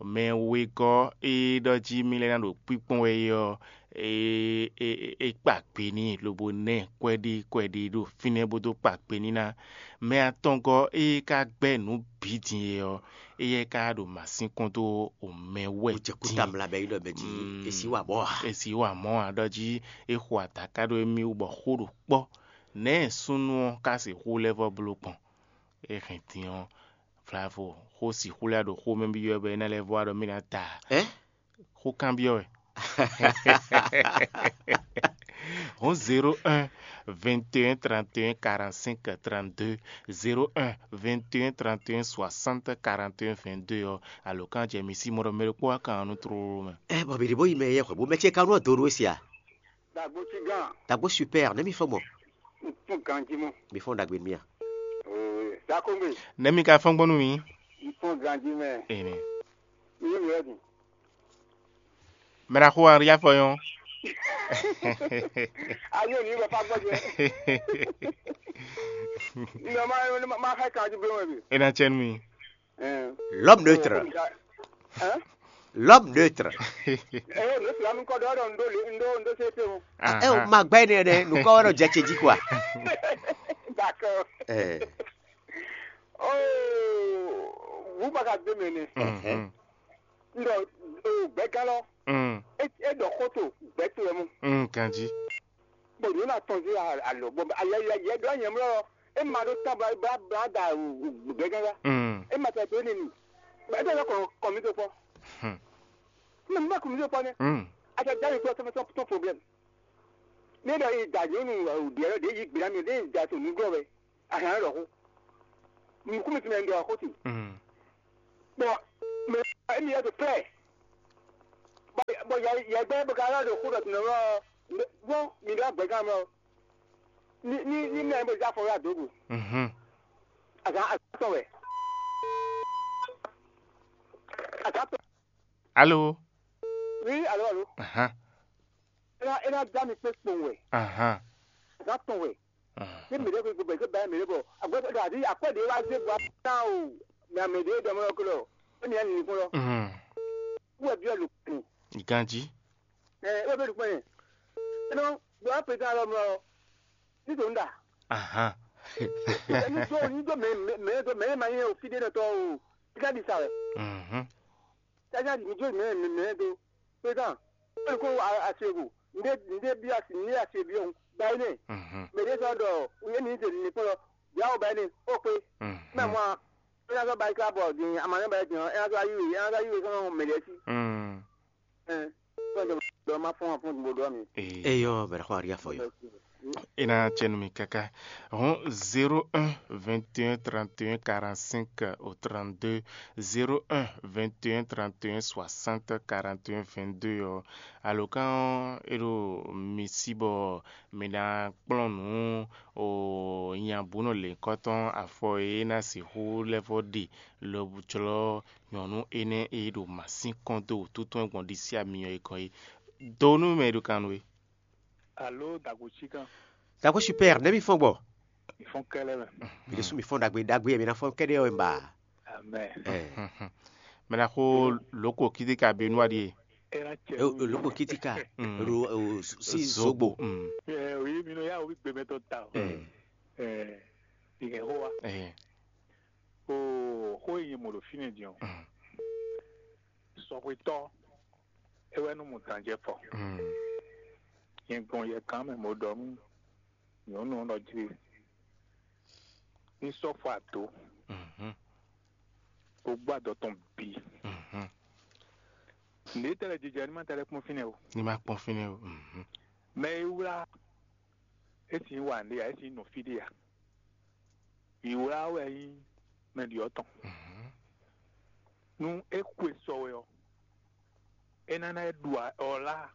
ɔ́, mɛ wegɔ́ e ɖɔ jí mì lɛ́ ná ɖo kpíkpɔ́n wɛ é ɔ́, é é é kpa gbe n'i lobo ná ɛ kɔ́ɖí kɔ́ɖí ɖo fínɛ́ bó dó kpa gbe n'i ná. Mɛ atɔngɔ́ e ka gbɛ́ nǔ bǐ din é ɔ́, éyɛ́ ka ɖo mǎsín kɔn dó omɛ wɛ Ó jɛ kúta din. Mla bɛ yi ɖɔ bɛ jí Mm. Esi wa mɔ a? Esi wa mɔ a ɖɔ jí é xo adaká ɖó émí wú bɔ xó ɖo kpɔ́. Nɛ̌ súnnu ɔ́ ka sixú lɛ́ vɔ́ bló gbɔn? É hɛn din ɔ́, vlavo xó sixú lɛ́ ɖo xó mɛ byɔ́ bɔ é ná lɛ́ vɔ́ wá ɖɔ mì ná ta. Ɛ? Xó kanbyɔ́ wɛ. Hɔn zéro un vingt et un trente et un quarante-cinq trente-deux, zéro un vingt et un trente et un soixante quarante et un vingt-deux ɔ́, alǒkan jɛ mi sí mɔ ɖɔ mɛ ɖokpó wá kan nú tlóló mɛ. Ɛ bɔ mǐ ɖi bó yi mɛ yɛ xwɛ bó mɛ ce ka nú ɔ́ do ɖó sia. Dagbo super nɛ́ mi fɔ gbɔn. Un tún ganjí mɔ. Mi fɔ́n ɖagbe nú mì a? Dakongbe, Nɛ̌ mi ka fɔ́n gbɔn nú mì? Un tún ganjí mɛ. Ene. Mi yé mi wɛ din. Mɛ ɖaxó Henri afɔ nyɔ́. Ayo ni bɛ fa gbɔjɛ. Nɔ ma ma ma xɛ kan ju bɛ wɛ bi. E na cɛ nú mi. L'homme neutre. Hein? L'homme neutre. Eh, ne fila mi kɔ dɔ dɔ ndo le ndo ndo se te o. Ah, eh, o ma gbɛ ne ne, no kɔ wɛ no jɛ ce ji quoi. D'accord. Eh. Oh, vous ma gardez mené. Mhm. Ndo ndo gbɛ galɔ. Mm. E e dɔ koto gbɛ to mu. Mm, kanji. Bon, nous on a tendu à à le bon à y a y a y a de rien là. E ma do ta ba ba ba da gbɛ ganga. Mm. E ma ta to ni ni. Ba da ko ko mi to po. Hmm. Mais moi comme je connais. Mm. À ta dans le ton ton problème. Ne da yi da yo nu di alo de yi gbira mi de da to nu go we. A ha ro ko. Mi ku mi ti me ndo ko ti. Mm. Bon, mais e mi ya de près. Bon, bon ya ya gbe bo ka la do ko do no. Bon, mi da gbe ka mo. Ni ni ni me bo ja fo ya dogo. Mhm. A ka a ka to we. A ka to. Allô? Oui, allô, allô. Aha. E na e na da mi pe kpɔn we. Aha. A ka to we. Aha. Ni mi de ko ko be ko ba mi de bo. A gbe da di a ko de wa ze bo na o. Na mi de do mo ko lo. Ni an ni ko lo. Mhm. Wo bi lo. Ganji. Eh, wo be ko. Non, do a pe ta lo mo. Ni to nda. Aha. Ni to ni to me me me to me ma ye o fi de no to o. Ka di sa we. Mhm. Sasa mi jó mɛ mɛ mɛ do. Pétan, é ko asieku. Ndé ndé bi asi ndé asie bi ɔn. Ba énɛ́. Mhm. Mɛ ɖé sɔ́ ɖɔ yé mi se ní kplɔ́. Bia wo ba énɛ́. Ó kpé. Mhm. Mɛ mɔ a. É ná sɔ́ ba yi ká bɔ din ama nɛ ba yi din ɔn. É ná sɔ́ ayú é ná sɔ́ ayú é sɔ́ nɔ mɛ ɖɛ́ sí. Mm. Ɛn. Sɔ́ ɖɔ ma fɔ́n afɔ́n bo ɖɔ mi. Ee. Eyɔ bɛrɛ xɔ ariya fɔ yɔ. E na cɛ nú mi káká. Hɔn zéro un vingt et un trente et un quarante-cinq au trente-deux, zéro un vingt et un trente et un soixante quarante et un vingt-deux ɔ́, alǒkan ɔ́ é ɖo mi sí bɔ mi ná kplɔ́n nǔ o nyabǔnɔ lěhunkɔtɔn afɔ e é ná sixú lɛ́ vɔ́ ɖe lobo jlɔ́ nyɔ̌nu énɛ́ e ɖo mǎsínkɔn dó wǔtú tɔn gbɔn ɖisí amyɔ e gɔ́n é. Do nú mɛ e ɖo kan nú we. Alo dago chikan. Dago super, nɛ́ mi fɔ́n gbɔ? Mi fɔ́n kɛlɛ mɛ. Mi ɖésú mi fɔ́n ɖagbe ɖagbe, mi ná fɔ́n kɛɖɛ ɔ́ ba. Amen. Ɛ. Mɛ ná xó loko kídí ka be nú aɖíe. Era cɛ. Loko kídí ka. Mm. Ro o si Zogbo. Zogbo. Mm. Ɛ, oyi mi nɔ ya omi gbɛmɛ tɔ ta o. Mm. Ɛ, ìhɛn xó wa. Ɛ. O xó yi mo ɖo fínɛ din o. Mm. Sɔxwetɔ, é wɛ nú mɔ danjɛ fɔ. Mm. Nyɛ gbɔn yɛ kan mɛ mo ɖɔ nú nyɔ̌nu ɔ́ ɖɔ jí ní sɔ́ fɔ ado, Mhm. bó gbá dɔ tɔn bǐ. Mhm. Nǔɖé tɛ́ lɛ́ jijɛ ní ma tɛ́ lɛ́ kpɔ́n fínɛ́ o. Ní ma kpɔ́n fínɛ́ o. Mhm. Mɛ e wlá é sì ń wa nǔɖé ǎ, é sì ń nɔ fí ɖé ǎ. Vǐwlá wɛ nyí mɛ ɖyɔ̌ tɔn. Mhm. Nú é xwe sɔ wɛ ɔ́, é ná ná é ɖu ɔ lá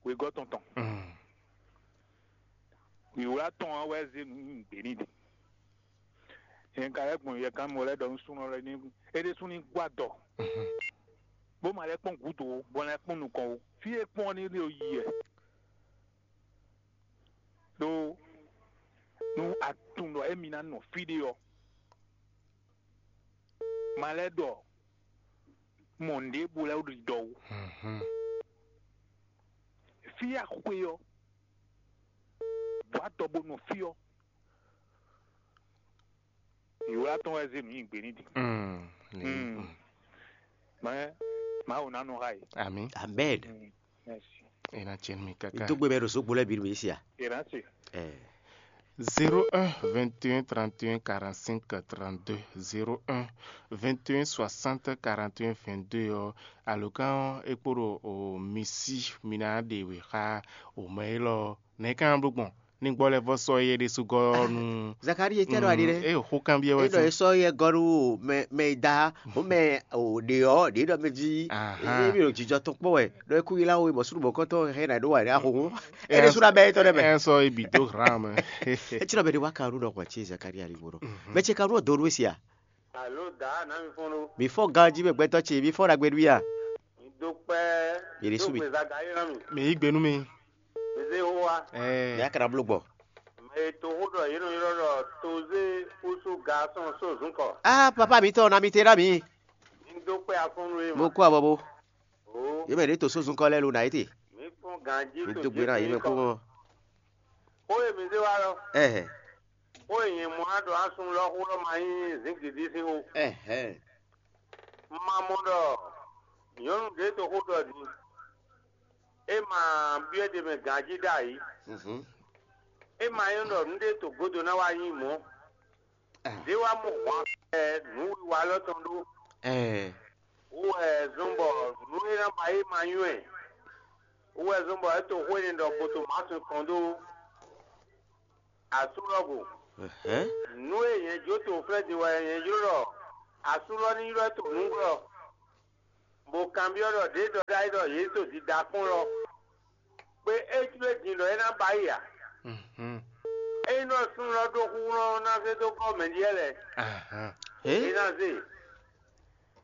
wegɔ́ tɔn tɔn. Mm. Vǐwlá tɔn ɔ́ wɛ zé nǔ nyi nǔgbé n'i ɖe. Nyɛ ka lɛ́ gbɔn yɛ gán mɔ lɛ́ɛ ɖɔ nú súnnu lɛ́ɛ ní é ɖésú ní gbɔ adɔ, Mhm. bó ma lɛ́ kpɔ́n gǔdo ó, bó lɛ́ kpɔ́n nukɔn ó. Fí e kpɔ́n ɔ́ ní ɖo yi wɛ. Ɖó nú a tunwun ɖɔ émí ná nɔ fí ɖé ɔ́, ma lɛ́ ɖɔ mɔ nǔɖé bó lɛ́ ɖi dɔ ó. Mhm. Fí axwe ɔ́, bɔ adɔ bó nɔ fí ɔ́, vǐwlá tɔn wɛ zé nǔ nyi gbě ní din. Mm, ní, Mm. mm. Mɛ Mawu ná nɔ xá yě. Ami. Amen. Mm, merci. E na cɛ nú mi kaka. Dógbe bɛ ɖo zogbo lɛ bi ɖo esi a? Ìrántí. Eh. Zéro un vingt et un trente et un quarante-cinq trente-deux, zéro un vingt et un soixante quarante et un vingt-deux ɔ́, alǒkan ɔ́ é kpo ɖo o mi sí mi ná ɖe wě xá o mɛ élɔ́ nɛ̌ ká bló gbɔn? Ní gbɔ lɛ́ vɔ sɔ́ yɛ ɖésú gɔ́ nú. Zakarie tɛ ɖɔ aɖi ɖe. E xó kanbyɔ́ wɛ. E ɖɔ e sɔ́ yɛ gɔ́ nú mɛ mɛ e da o mɛ o ɖe ɔ́ ɖe ɖɔ mɛ ví. Ahan. E mi ɖo jijɔ tɔn kpɔ wɛ ɖɔ e kú yi la wo e bɔ súɖu bɔkɔtɔ hɛn na ɖo wa ɖe axo. E ɖe súɖu abɛ etɔn ɖe mɛ. Ɛ sɔ ebi dó hran mɛ. E ti ɖɔ mɛ ɖe wa kan ɖo ɖɔ kɔ ce Zakarie ali bo ɖɔ. Mɛ ce kan ɖo dó nú esia. Alo da na mi fɔn ɖo. Mi fɔ ganji mɛ gbɛtɔ ce mi fɔ ɖagbe ɖu ya. Mi do kpɛ. Mi ɖe su mi. Zagaye na mi. Mi yí gbe nú mi. Mi se ho wa. Ɛɛ. Mi akana blo gbɔ. Mɛ to xó ɖɔ yě nɔ ylɔ́ ɖɔ toze kúsú gasɔn só zun kɔ. Ah papa mi tɔ na mi te na mi. Mi do kpɛ afɔnnu ye ma. Mo kó abɔ bo. O. Yé mɛ ɖě to só zun kɔ lɛ lo na yé te. Mi fɔn ganji. Mi to do gbe na yé mɛ kó mɔ. Xó e mi zé wa lɔ. Ɛhɛ. Xó e nyɛ mɔ á ɖɔ asún lɔ xó lɔ ma nyí zǐngídi sín xó. Ɛhɛ. Ma mɔ ɖɔ nyɔ̌nu ɖě to xó ɖɔ din. É ma byɔ́ ɖe mɛ ganjí ɖ'ayǐ. Mhm. É ma nyɔ́ ɖɔ nǔ ɖé to gúdo ná wá nyí mɔ̌. Ah. Ɖé wá mɔ hwan ɛ nǔwiwa lɔ tɔn ɖó. Ɛɛ. Wú wɛ zɔ́n bɔ nǔ e ná ba é ma nywɛ́. Wú wɛ zɔ́n bɔ é to xó énɛ́ ɖɔ gboto Masu kɔn dó asú lɔ go. Ɛhɛn. Nǔ e nyɛ jó to flɛ́ din wɛ nyɛ jló ɖɔ asú lɔ ní ylɔ́ to nǔglɔ́, bó kanbyɔ́ ɖɔ ɖě ɖɔ ɖ'ayǐ ɖɔ yě to dida kpɔ́n lɔ, kpé é jló din ɖɔ é ná ba yi a? Mhm. Ényí ɖɔ súnnu lɔ ɖó xúxlɔ́ ná zé dó gɔ́ mɛ ɖíe lɛ́ɛ, Ahan. É ná zé.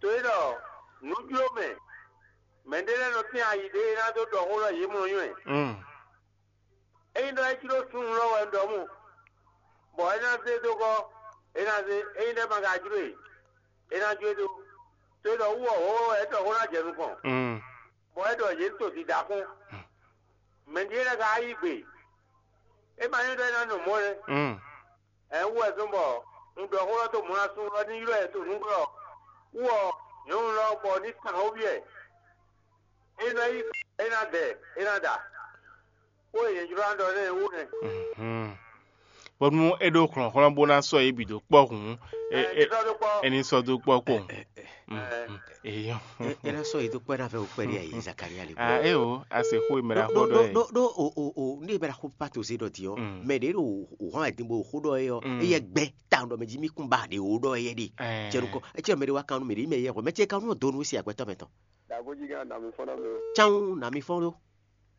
To é ɖɔ nǔ jló mɛ, mɛ ɖé lɛ́ɛ nɔ tín ayi ɖé é ná dó ɖɔ xó lɔ yě mɔ nywɛ́. Mm. Ényí ɖɔ é jló súnnu lɔ wɛ un ɖɔ mɔ, bɔ é ná zé dó gɔ́, é ná zé. Ényí ɖɔ é ma ka jló e, é ná jó e dó. To e ɖɔ wú ɔ́, wǒ wɛ é ɖɔ xó ná jɛ nukɔn, Mm. bɔ é ɖɔ yě to dida kpɔ́n. Mɛ ɖíe lɛ́ɛ ka yí gbe, é ma nyí ɖɔ é ná nɔ mɔ̌ lɛ́ɛ. Mm. Ɛ̌ wú wɛ zɔ́n bɔ un ɖɔ xó lɔ dó mɔ̌ ná súnnu lɔ ní ylɔ́ ɛ to nǔglɔ́ wú ɔ́, nyɔ̌nu lɔ bɔ ní kan xó byɔ́ ɛ. É nɔ yí é ná dɛ, é ná da. Xó e nyɛ jló ná ɖɔ nɛ́ é wú nɛ́. Mhm. Bónú é ɖó hlɔ̌nhlɔ́n bó ná sɔ́ yě bǐ dó kpɔ́ hǔn, é, Ɛ, é, ní sɔ́ dó kpɔ́. É ní sɔ́ dó kpɔ́ kpowun. Ɛ. Mhm. Eyɔ́. É ná sɔ́ yě dó kpɔ́ ná fɛ wò kpɛɖi ayi Zakaria lí. Ah, é o, a se xó e mɛ ɖo ɖo xó ɖɔ ɖɔ é. Ɖo ɖo o o o ní mɛ ɖo xó pato zé ɖɔ din ɔ́, Mm. mɛ ɖě ɖo o hɔn adin bo xó ɖɔ é ɔ́, Mm. éyɛ gbɛ ta ɖɔ mɛ jí mí kún ba ɖě o ɖɔ éyɛ ɖe. Ɛ. Cɛ nukɔ, ecɛ mɛ ɖě wá kan nú mɛ ɖě mɛ yɛ xɔ, mɛ ce kan nú donu si agbɛtɔ mɛ tɔn. Dagboji gán nami fɔn na mi o. Can nami fɔn ɖo.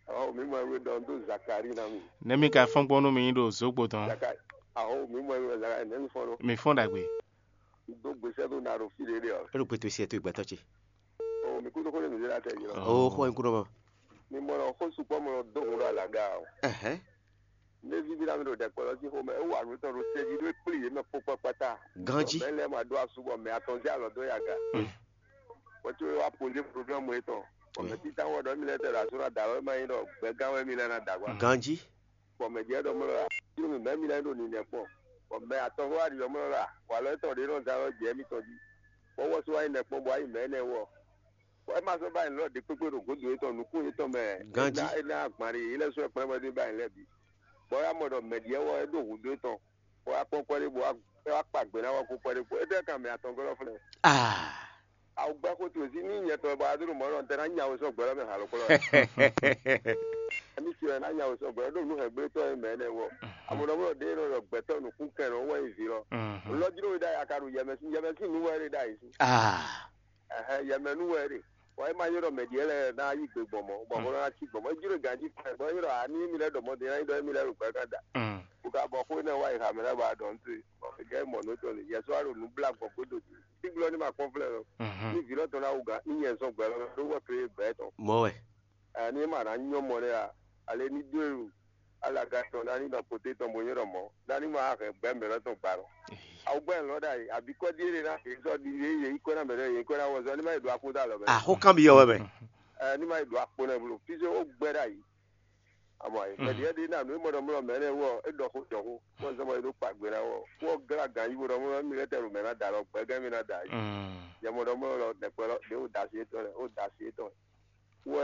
Awo mi mɔ ewé dɔn dó Zakari na mi. Nɛmi ka fɔn gbɔn nú mi ɖo zogbo tɔn. Zakari. Awo mi mɔ ewé Zakari nɛmi fɔn ɖo. Mi fɔn ɖagbe. Dó gbèsè tó na ɖo fi ɖé ɖé ɔ. Eɖo gbètò si ẹtò ìgbàtɔ ce. O mi kúndó kó lè mi dé la tẹ yìí lọ. O xɔ nkúndó mɔ. Mi mɔ lọ xó sukpɔ mɔ lọ dó hun ɖo alaga o. Ɛhɛn. Ne vivi la mi ɖo ɖɛkpɔ lɔ sí xomɛ, é wa nǔ tɔn ɖo tɛ́jí ɖó é kplí yě mɛ kpó kpákpátá. Ganjí. Mɛ lɛ́ɛ ma ɖó asú bɔ mɛ atɔn zé alɔ dó yaga. Mm. Bɔ có é wá pozé problème yětɔn. Bɔ Oui. Mɛ títá wɔ ɖɔ mi lɛ́ɛ tɛ ɖo asú ná da lɔ é ma nyí ɖɔ gbɛgán wɛ mi lɛ́ɛ ná da gbá. Ganjí. Bɔ mɛ jɛ ɖɔ mɔ lɔ la, jló mi mɛ mi lɛ́ɛ ɖo ninɛ kpɔn. Bɔ mɛ atɔn xó wá ɖi ɖɔ mɔ lɔ la, wà lɔ étɔn ɖě nɔ da lɔ jɛ mitɔn jí. Bɔ wɔ só wá nyí nɛ kpɔn bɔ wá yi mɛ énɛ́ wɔ. Bɔ é ma sɔ́ ba nyǐ lɔ ɖě kpékpé ɖo gǒdo yětɔn nukún yětɔn mɛ. Ganjí. É ná, é ná agban ɖé yě lɛ́ sɔ́ kplɔ́n bɔ é ní ba nyǐ lɛ́ɛ bǐ. Bɔ é wá mɔ ɖɔ mɛ ɖyɛ̌ wɔ é ɖó hǔndó étɔn, bɔ é wá kpɔ́n kwɛ́ ɖé bó wá, é wá kpa gbě ná wɔ kó kwɛ́ ɖé kpó. Étɛ́ kan mɛ atɔngɔ́ lɔ flɛ́? Ah. Awu gbɛ́ xó towe sí ní nyɛ tɔn ba wá dó ɖo mɔ̌ ɖɔ un tɛ ná nya we sɔ́ gbɛ lɔ mɛ halɔ̌kplɔ́ wɛ. Émí ce wɛ ná nya we sɔ́ gbɛ lɔ ɖó nǔ hɛ̌ngblétɔ́ e mɛ énɛ́ wɔ. Amɔ̌ ɖɔ mɔ ɖɔ ɖěe nɔ ɖɔ gbɛtɔ́ nukúnkɛn nɔ wɛ nyi vǐ lɔ. Mhm. Lɔ jló we ɖ'ayǐ a ka ɖo yɛmɛ sín, yɛmɛ sín nǔ wɛ é ɖe ɖ'ayǐ sín. Ah. Ɛhɛn, yɛmɛ nú wɛ é ɖe. Bɔ é ma nyí ɖɔ mɛ ɖě lɛ́ɛ ná yí gbe gbɔn mɔ̌, bɔ xó ná cí gbɔn mɔ̌. É jló ganjí kpɛn, bɔ é nyí ɖɔ a ní émí lɛ́ɛ ɖɔ mɔ̌ din ná nyí ɖɔ émí lɛ́ɛ ɖo gbɛ kán da. Mm. Bó ka bɔ xó énɛ́ wá yi xamɛ lɛ́ɛ bɔ a ɖɔ nú towe, bɔ è gɛ́ mɔ nǔ tɔn lě, yɛ sɔ́ wá ɖo nǔ blá gbɔn gbódò din. Sín glɔ́ ní ma kpɔ́n flɛ́ lɔ. Mhm. Ní vǐ lɔ tɔn ná wú gǎn, ní nyɛ zɔn gbɛ lɔ mɛ, ɖó wɔ tlé gbɛ tɔn. Mɔ̌ wɛ. Ɛ, ní é ma ná nyɔ́ mɔ lɛ́ɛ a, ale ní dó e alaga tɔn ná ní nɔ kpoté tɔn bó nyɔ́ ɖɔ mɔ̌, ná ní ma hɛn gbɛ̌ mɛ lɔ tɔn gba lɔ. Awu gbɛ́ lɔ ɖ'ayǐ, abǐ kɔ́ ɖíe ɖe ná, yě zɔ ɖi yě yě yi kɔ́ ná mɛ lɛ́ɛ, yě kɔ́ ná wɔ zɔ, ní ma yi ɖo akpo dó alɔ mɛ. Axó kan byɔ́ wɛ mɛ. Ɛ, ní ma yi ɖo akpo nɛ blo. Fí zé ó gbɛ́ ɖ'ayǐ. Amɔ ayǐ, mɛ ɖíe ɖe ná nǔ e mɔ ɖɔ mlɔ mɛ lɛ́ɛ wɔ, é ɖɔ xó jɔ xó, bó zɔ́n bɔ é ɖó kpa gbe ná wɔ, bó glá gǎn yí bó ɖɔ mlɔ mi lɛ́ tɛ ɖo mɛ ná da lɔ, gbɛgɛ́ mi ná da yí. Mm. Yɛ mɔ ɖɔ mlɔ lɔ, nɛkpɛ lɔ, ɖě wò da sí étɔn lɛ, wò da sí étɔn. Wɛ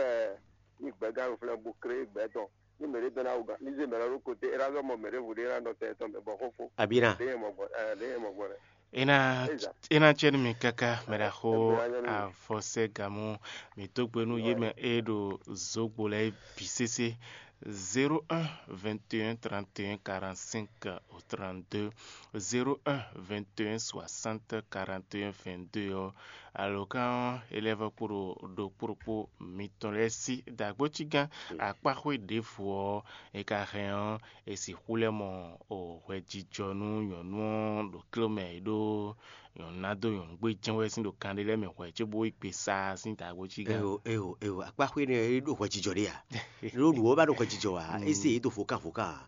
ní gbɛgán ɖo flɛ́ bó klé gbɛ tɔn. Ní mɛ ɖé dɔn ná wú gán, ní zé mɛ lɔ ɖó kote, é ná zɔ́ mɔ mɛ ɖěvo ɖé ná nɔ tɛ tɔn mɛ bɔ xóxó. Abǐ ná. Ɖé yɛ mɔ gbɔn, ɛ, ɖé yɛ mɔ gbɔn lɛ. É ná, Éza. É ná cɛ nú mi káká, mɛ ɖaxó Ɛ, ɛ, ɛ, ɛ, ɛ. Avɔsɛ Gamɔ, mǐ dó gbe nú yě mɛ e ɖo zǒgbo lɛ́ɛ bǐ sésé. Zéro un vingt et un trente et un quarante-cinq au trente-deux, zéro un vingt et un soixante quarante et un vingt-deux ɔ́, alǒkan ɔ́, é lɛ́ vɔ́ kpo ɖo ɖokpó ɖokpó mitɔn lɛ́ɛ sí. Dǎgbócígán akpáxwé ɖěvo ɔ́, è ka hɛn ɔ́, è sixú lɛ́ mɔ hwɛjijɔ nú nyɔ̌nu ɔ́ ɖo kló mɛ e ɖó nyɔ̌nu ná dó nyɔ̌nu gbé jɛ́n wɛ sín ɖo kan ɖé lɛ́ɛ mɛ hwɛ̌ cóbó yi gbe sa sín dǎgbócígán. Eho, eho, eho, akpáxwé nɛ́ é ɖo hwɛjijɔ ɖé a? Ɖó nǔ ɔ́ ba ɖo hwɛjijɔ ǎ, é zé yě dó vokán vokán ǎ.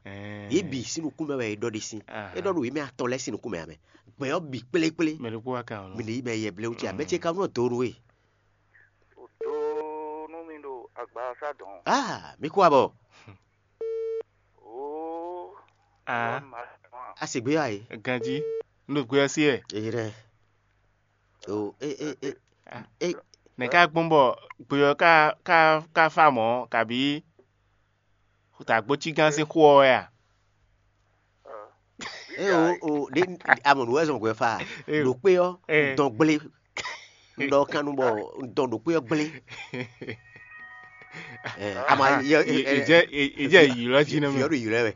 Yě bǐ sín nukún mɛ wɛ é ɖɔ ɖe sín. É ɖɔ ɖo yě mɛ atɔn lɛ́ɛ sín nukún mɛ ǎ mɛ. Gbɛ̌ ɔ́ bǐ kplékplé. Mɛ ɖokpó wá kan ɔ́. Mɛ ɖě yi mɛ yɛ blé wú ce ǎ. Mɛ ce ka nɔ dó nú we. O dó nú mi ɖo agbasa dɔn. Ah, mi kú abɔ. Oo. Ah. A se gbé wa yi. Ganjí, n ɖo gbé ɔ́ sí ɛ. Èyí rẹ. O e e e. Ah. E. Nɛ̌ ká gbɔn bɔ gbé ɔ́ ká ká ká fá mɔ̌ kabí dǎgbócígán sín xó ɔ́ wɛ a? E o o ɖe amɔ̌ nú wɛ zɔn hwɛ fa. Ɖo kpé ɔ́ dɔn gblé. Un ɖɔ kan nu bɔ un dɔn ɖo kpé ɔ́ gblé. Ama yɛ Ìjẹ́ ìjẹ́ ìyìlɔ jí nú mi. Yɔɖu yìlɔ wɛ.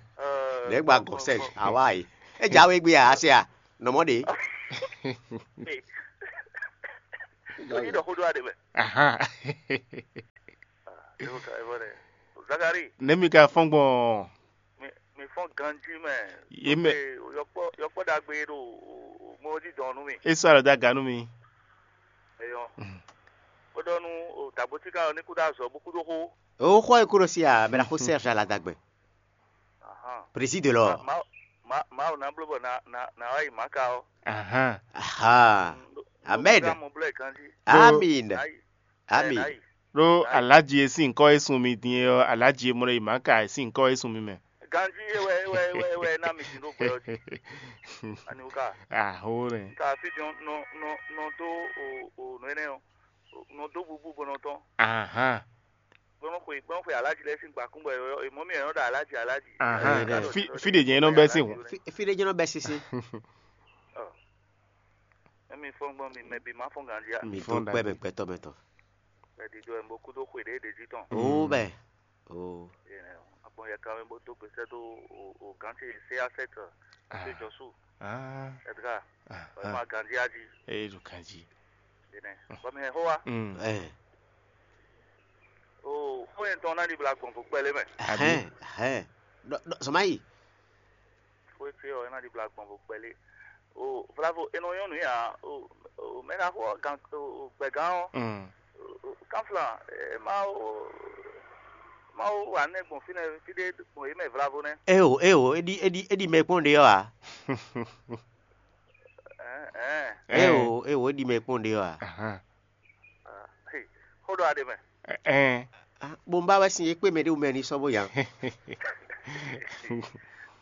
Lɛ gba gɔn sɛ awa yi. E ja we gbe a ase a nɔmɔ de. Oyin ɖɔ xó ɖó aɖe mɛ. Ahan. Evo ka evo ɖe. Zakari. Ne mi ka fɔn gbɔn. Mi mi fɔn ganji mɛ. Ye mɛ. Yɔkpɔ yɔkpɔ ɖagbe ɖo mɔ jí dɔn nú mi. E sɔ alɔ da ga nú mi. Eyɔ. Ó ɖɔ nú dàgbòtíkà ɔ́ ní kú dó azɔ bó kú dó xó. O xɔ e kúrò sí a bɛ na xó sɛ fia la dagbe. Ahan. Président lɔ. Ma ma ma ò ná bló bɔ na na na wá yi maka ɔ́. Ahan. Aha. Amen. Mo blɛ ganji. Amin. Ayi. Ami. Ɖó alǎji e sín nyǐkɔ e sun mi din é ɔ́, alǎji e mɔ ɖɔ yi mǎ ka e sín nyǐkɔ e sun mi mɛ. Ganjí é wɛ é wɛ é wɛ é wɛ ná mi sin ɖó gbɛ ɔ́ jí. Ani wú ká? Aho nɛ. Ka fí din nɔ nɔ nɔ dó o o nǔ énɛ́ ɔ́, nɔ dó bubú bó nɔ tɔn. Ahan. Gbɔn xwe gbɔn xwe alǎji lɛ́ɛ sín gbakún bɔ è mɔ mì è nɔ ɖo alǎji alǎji. Ahan. Fí fí ɖě jɛ́n é nɔ bɛ́ sín hǔn. Fí ɖé jɛ́n nɔ bɛ́ sín sín. Ɔ. Emi fɔn gbɔn mi mɛ bi ma fɔn ganjí a. Mi dó kpɛ́ mɛ gbɛtɔ́ mɛ tɔn. Mɛ ɖiɖɔ ɛ bo kúdó xwe ɖě ɖě jí tɔn. Ó bɛ. Ó. Agbɔn yɛ kan mɛ bó dó gbèsè dó o gán ce sé asɛt. Tó jɔ sú. Edgar. Ɔyɛ ma ganjí a jí. Eye ɖo ganjí. Ene bɔ mi hɛn xó wa. Ɛ. O xó yẹn tɔn ná ɖi bla gbɔn vo kpɛlɛ mɛ. Ahɛn ahɛn. Zɔn ma yi. Xó yẹn tɔn ná ɖi bla gbɔn vo kpɛlɛ. O vlavo e nɔ nyɔ́ nǔ ya o mɛ ɖaxó ɔ́ gan gbɛ̌gán ɔ́. Kánflan, Mawu Mawu wa nɛ́ gbɔn fínɛ́ fí ɖé gbɔn yě mɛ vlavo nɛ́. Eo eo é ɖi é ɖi é ɖi mɛ kpɔ́n ɖe ɔ́ ǎ. Eo eo é ɖi mɛ kpɔ́n ɖe ɔ́ ǎ. Xó ɖɔ aɖe mɛ. Ɛn. Bó ń bá wɛ sin é kpé mɛ ɖé wú mɛ ní sɔ́ bó yá.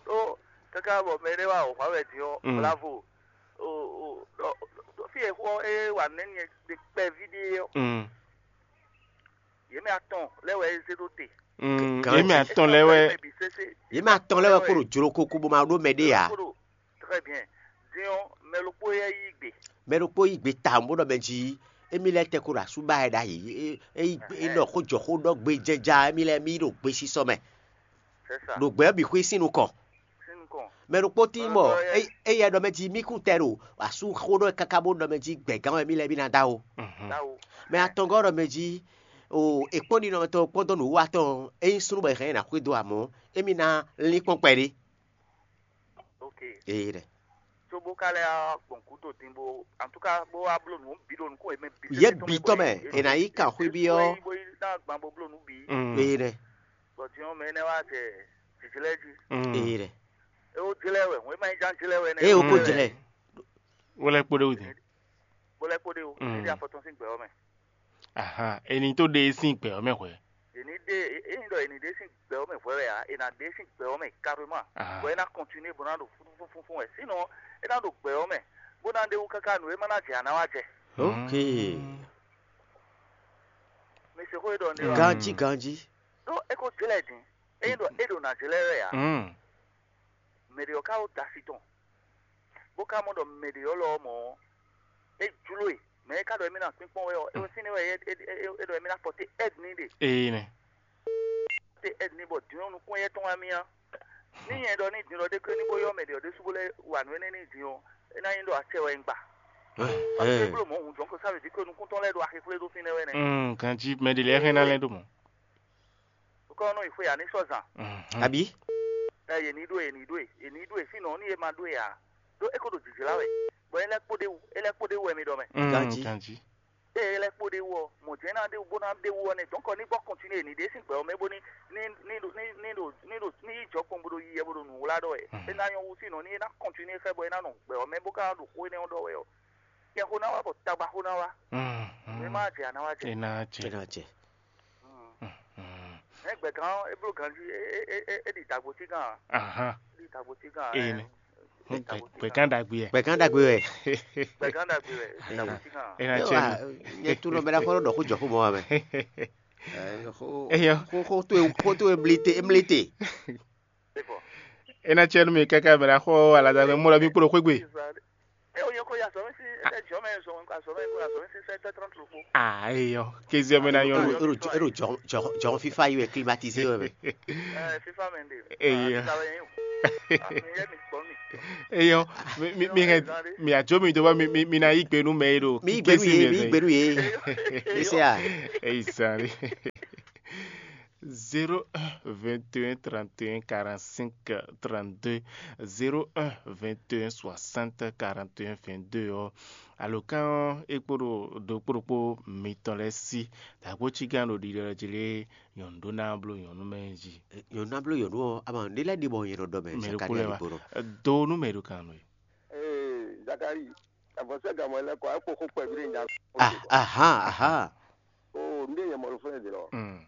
Tó káká bɔ mɛ ɖé wá wò xwá wɛ din ɔ́, bravo. Fí e xó é wa nɛ́ ni kpɛví ɖé ɔ́, yě mɛ atɔn lɛ́ wɛ é zé ɖó te. Yě mɛ atɔn lɛ́ wɛ. Yě mɛ atɔn lɛ́ wɛ kó ɖo jló kókó bó ma ɖó mɛ ɖé ǎ. Très bien. Din ɔ́, mɛ ɖokpó yɛ yí gbe. Mɛ ɖokpó yí gbe tawun bó ɖɔ mɛ jí émí lɛ́ tɛ kó ɖo asú ba wɛ ɖ'ayǐ. É é é nɔ xó jɔ xó ɖɔ gbe jɛja émí lɛ́ɛ mí ɖo gbesisɔ mɛ. C'est ça. Ɖo gbɛ ɔ́ bǐ xwí sín nukɔn. Sín nukɔn. Mɛ ɖokpó tín bɔ éyɛ ɖɔ mɛ jí mí kún tɛ ɖo asú xó ɖɔ káká bó ɖɔ mɛ jí gbɛ̌gán wɛ mí lɛ́ɛ mí ná dó awo. Táwo. Mɛ atɔngɔ́ ɖɔ mɛ jí o è kpɔ́n ɖi nɔ tɔn kpɔ́n dɔn nǔwiwa tɔn é nyí súnnu bɔ è hɛn ɛ ná xwedó amɔ̌ émí ná lín kpɔ́n kpɛɖé. Ok. Ee ɖɛ. Tso bó ka lɛ gbɔn gǔdo din bó en tout cas bó wá bló nǔ bǐ ɖo nukún yě mɛ bǐ. Yě bǐ tɔn mɛ è nǎ yí kan xwé byɔ́. Bó yí ná gbɔn bó bló nǔ bǐ. Ee ɖɛ. Bɔ din ɔ́ mɛ énɛ́ wá jɛ jǐjlɛ́ jí. Ee ɖɛ. É wó jlɛ́ wɛ hɔn é má nyí ján jlɛ́ wɛ nɛ́. Ee wó kó jlɛ́. Wó lɛ́ kpó ɖé wú din. Bó lɛ́ kpó ɖé wú. Ní dí afɔtɔn sín gbɛ ɔ́ mɛ. Ahan, è nǐ tó ɖe e sín gbɛ ɔ́ mɛ hwɛ̌. È nǐ ɖe ényí ɖɔ è nǐ ɖe sín gbɛ ɔ́ mɛ hwɛ̌ wɛ ǎ, è nǎ ɖe sín gbɛ ɔ́ mɛ carrément. Bɔ é ná continuer bó ná ɖo fúnfúnfún wɛ. Sinon é ná ɖo gbɛ ɔ́ mɛ bó ná ɖe wú káká nǔ e ma ná jɛ ǎ ná wá jɛ. Ok. Mi se xó e ɖɔ ndé ɔ́. Ganjí ganjí. Ɖó é ko jlɛ́ din. Ényí ɖɔ é ɖo ná jlɛ́ wɛ ǎ. Mɛ ɖě ɔ́ ka wó da asi tɔn. Bó ka mɔ ɖɔ mɛ ɖě ɔ́ lɔ ɔ́ mɔ̌ ɔ́, é jló e. Mɛ e ka ɖɔ émí ná kpínkpɔ́n wɛ ɔ́, é wɛ fínɛ́ wɛ é é é é ɖɔ émí ná pɔté aide n'i ɖe. Ee nɛ. te ɛd ní bɔ din ɔ́ nukún éyɛ́ tɔn wá mì á. Ní nyɛ ɖɔ ní din ɔ́ ɖé klé ní bó yɔ́ mɛ ɖě ɔ́ ɖésú bó lɛ́ wa nǔ énɛ́ n'i din ɔ́, é ná nyí ɖɔ acɛ wɛ un gba. Parce que é bló mɔ̌ hǔn jɔ́n ko sá wě jí ko nukún tɔn lɛ́ɛ ɖo axixwlé ɖó fínɛ́ wɛ nɛ́. Mm, ganjí mɛ ɖě lɛ́ɛ hɛn ná lɛ́ ɖó mɔ̌. Kɔ́ nɔ yi xwe ǎ ní sɔ́ zan. Mhm. Abǐ? Ɛ yě ní ɖó e, yě ní ɖó e, yě ní ɖó e, sínɔ ní e ma ɖó e ǎ. Ɖó é ko ɖo jǐjlá wɛ, bɔ é lɛ́ kpó ɖ'é wú, é lɛ́ kpó ɖ'é wú wɛ mi ɖɔ mɛ. Mm, Ganjí. Ganjí. Ée é lɛ́ kpó ɖ'é wú ɔ́, mɔ jɛ̌n ná ɖ'é wú bó ná ɖ'é wú ɔ́ nɛ́, dɔ̌nkɔ ní gbɔ kɔntinué ní ɖe sín gbɛ ɔ́ mɛ bó ní ní ní ɖo ní ní ɖo ní ɖo ní yi jɔ kpɔn bó ɖo yi yɛ bó ɖo nǔ wlá ɖɔ wɛ. Mhm. É ná nyɔ́ wú sínɔ ní é ná kɔntinué xɛ bɔ é ná nɔ gbɛ ɔ́ mɛ bó ka ná ɖo xó énɛ́ ɔ́ ɖɔ wɛ ɔ́, nyɛ xó ná wá bɔ tagba xó ná wá. Mhm. Mɛ má jɛ a ná wá jɛ. É ná jɛ. É ná jɛ. Mm. Mhm. Ɛ gbɛ̀gán ɔ́, é bló ganjí, é é é é é ɖi dagbo cí gán ǎ. Ahán. É ɖi dagbo cí gán ǎ. Ee, ɛ, nɛ. é ɖi dagbo cí gán. Gbɛ̀gán ɖagbe ɛ. Gbɛ̀gán ɖagbe wɛ. Gbɛ̀gán ɖagbe wɛ, é ɖi dagbo cí gán ǎ. É ná Yɔ, cɛ a, nu. Nyɛ tunɔ bɛ ɖa xɔ ɖɔ xó jɔ xó mɔ wɛ mɛ. Ɛ, xó Eyɔ. Xó xó to e xó to e mlite e mlite. É ná cɛ nú mi káká mɛ ɖa xɔ aladagbɛ mɔ ɖɔ mi kplɔ xwé gbe. É o nyɛ ko ya sɔ mɛ si ɛ jɔ mɛ zɔn ka sɔ mɛ ko ya sɔ mɛ si sɛ tɛ trɔntu ko. Ah, eyɔ. Kézé mɛ ná nyɔ. Ero ero jɔ jɔ jɔ fifa yi wɛ climatisé wɛ mɛ. Ɛ fifa mɛ de. Eyɔ. Fifa mɛ yɛ mi kpɔ mi. Eyɔ. Mi mi mi hɛn mi adzo mi do ba mi mi mi na yi gbe nu mɛ yi do. Mi gbenu ye mi gbenu ye. Ese a. Eyi sari. Zéro un vingt et un trente et un quarante-cinq trente-deux, zéro un vingt et un soixante quarante et un vingt-deux ɔ́, alǒkan ɔ́ é kpo ɖo ɖokpó ɖokpó mitɔn lɛ́ɛ sí. Dǎgbó cígán ɖo ɖiɖɔ jí lé nyɔ̌nu ɖó ná bló nyɔ̌nu mɛ jí. Nyɔ̌nu ná bló nyɔ̌nu ɔ́, ama ɖé lɛ́ɛ ɖi bɔ nyɛ ɖɔ ɖɔ mɛ Mɛ ɖokpó lɛ́ɛ wá. Ɖokpó nɔ. Do nú mɛ ɖo kan nɔ é. Ee, Zakari, avɔsɛ́ gamɔ lɛ́ɛ kɔ, é kpo xó kpɛví ɖé nya. Ah, aha, aha. Oo, un ɖe nyɛ mɔ ɖo fúnɛ dě lɔ. Mm.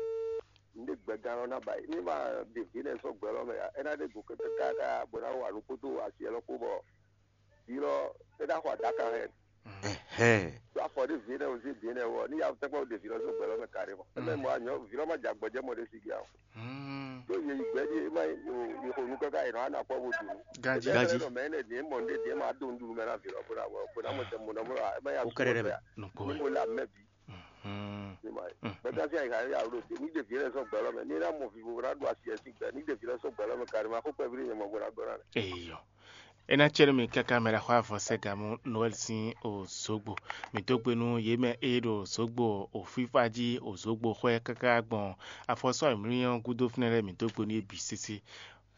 Un ɖe gbɛgán lɔ ná ba yi. Ní ma ɖe vǐ nɛ sɔ́ gbɛ lɔ mɛ ǎ, é ná ɖe go kɛkɛ káká bɔ é ná wa nǔ kpódó asi ɛlɔ kpó bɔ vǐ lɔ é ná xɔ adákan hɛn. Ɛhɛn. Ɖó afɔ ɖé vǐ nɛ o sí vǐ nɛ wɔ ní ya tɛkpɔ ɖe vǐ lɔ sɔ́ gbɛ lɔ mɛ kaɖé mɔ. Ɛ mɛ mɔ anyɔ vǐ lɔ ma jɛ agbɔjɛ mɔ ɖé sí gé awo. Mm. Ɖó yě yi gbɛ ɖíe má yi xo nú káká yě nɔ wá ná kpɔ́ bó ɖu nǔ. Ganjí. Ganjí. Mɛ énɛ́ ɖě mɔ ɖé ɖě ma dó nǔɖuɖu mɛ ná vǐ lɔ bó ná bó ná mɔ tɛ mɔ nɔ mɔ ɛ má ya Ó kɛ́ɖɛ́ ɖɛ mɛ. Nukpó Ní wɛ. Mo le amɛ bi. Hmm. Ní ma yi. Hmm. Gbɛgbá sí àyíká yà wò ló dé ní ɖe vǐ lɛ sɔ́ gbɛ lɔ mɛ ní ná mɔ vivo bó ná ɖu asi ɛ sí gbɛ ní ɖe vǐ lɛ sɔ́ gbɛ lɔ mɛ kárí ma xó kpɛví ní nyɛ mɔ bó ná gbɔ ná lɛ. Eyɔ. É ná cɛ́ nú mi káká mɛ ɖaxó avɔsɛ́ga mú Noɛl sín o zǒgbo. Mǐ dó gbe nú yě mɛ e ɖo zǒgbo o fífá jí o zǒgbo xwɛ káká gbɔn afɔsɔ́ ayǐmlúnyá ɔ́ gúdo fínɛ́ lɛ́ɛ mǐ dó gbe nú yě bǐ sésé.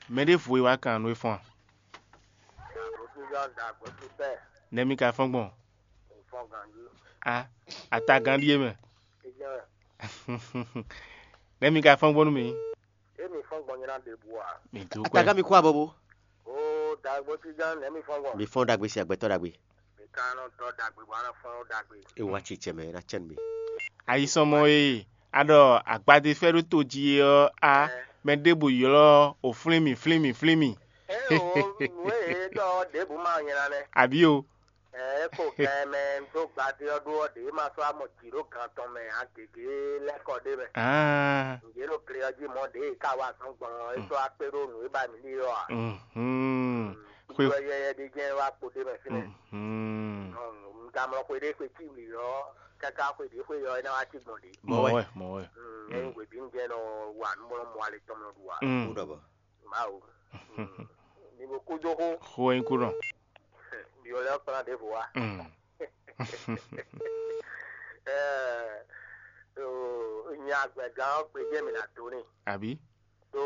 Mɛ ɖěvo e wá kan nú é fɔ́n a? Nɛ̌ mi ka fɔ́n gbɔn? A, atagán ɖíe mɛ. Nɛ̌ mi ka fɔ́n gbɔn nú mì? Emi fɔ́n gbɔn nyina ɖěbǔ ǎ. Mi dó Atagán kwɛ. Mi kú abɔbó. Ó dàgbò tí gán nɛ̌ mi fɔ́n gbɔn. Mi fɔ́n ɖagbe sí agbɛtɔ́ ɖagbe. Mi ka nɔ dɔ dàgbé bɔ anɔ fɔ́n ó dàgbé. E wá tsi tsɛ mɛ, e ná cɛ nú mi. Ayisɔmɔ e a ɖɔ agbadefɛ́ ɖó to jí é ɔ́, a Ɛ. Mɛ ɖěbǔ ylɔ́ o flín mì, flín mì, flín mì. Ɛ o nǔ e ɖɔ ɖěbǔ ma nyina nɛ. Àbí o? Ɛ é ko gɛn mɛ dó gbadé ɔ́ ɖó ɔ́ ɖě ma sɔ́ amɔ jǐ ɖó gan tɔn mɛ ǎ gěgé lɛ́ kɔ ɖé mɛ. Ah. Nǔɖé ɖo gle ɔ́ jí mɔ̌ ɖě e ka wa azɔn gbɔn ɔ́, é sɔ́ wá kpé ɖó nǔ e ba mǐ ɖe ɔ́ ǎ. Mhm. Xwe Kúkú yɛyɛ ɖé jɛ́n wá kpo ɖé mɛ fínɛ́. Mhm. Un ka mlɔ xwe ɖé xwe cí wǐ ɔ́ káká xwe ɖě xwe ɔ́ é ná wá cí gbɔn ɖě. Mɔ̌ wɛ, mɔ̌ wɛ. Mm, Ényí hwebǐnu jɛ́n nɔ wa nǔmlɔ́mɔ ale tɔn mlɔ ɖu ǎ. Mm. Kú ɖɔ bɔ. Mawu. Mm. Mi bo kú dó xó. Xó wɛ nyí kú nɔ. Mi ò lɛ kplɔ́n ɖěvo wa. Mm. Ɛɛ, o, nya gbɛ̀gán ɔ́ gbé jẹ́ mi ná dó n'i. Àbí? Ɖó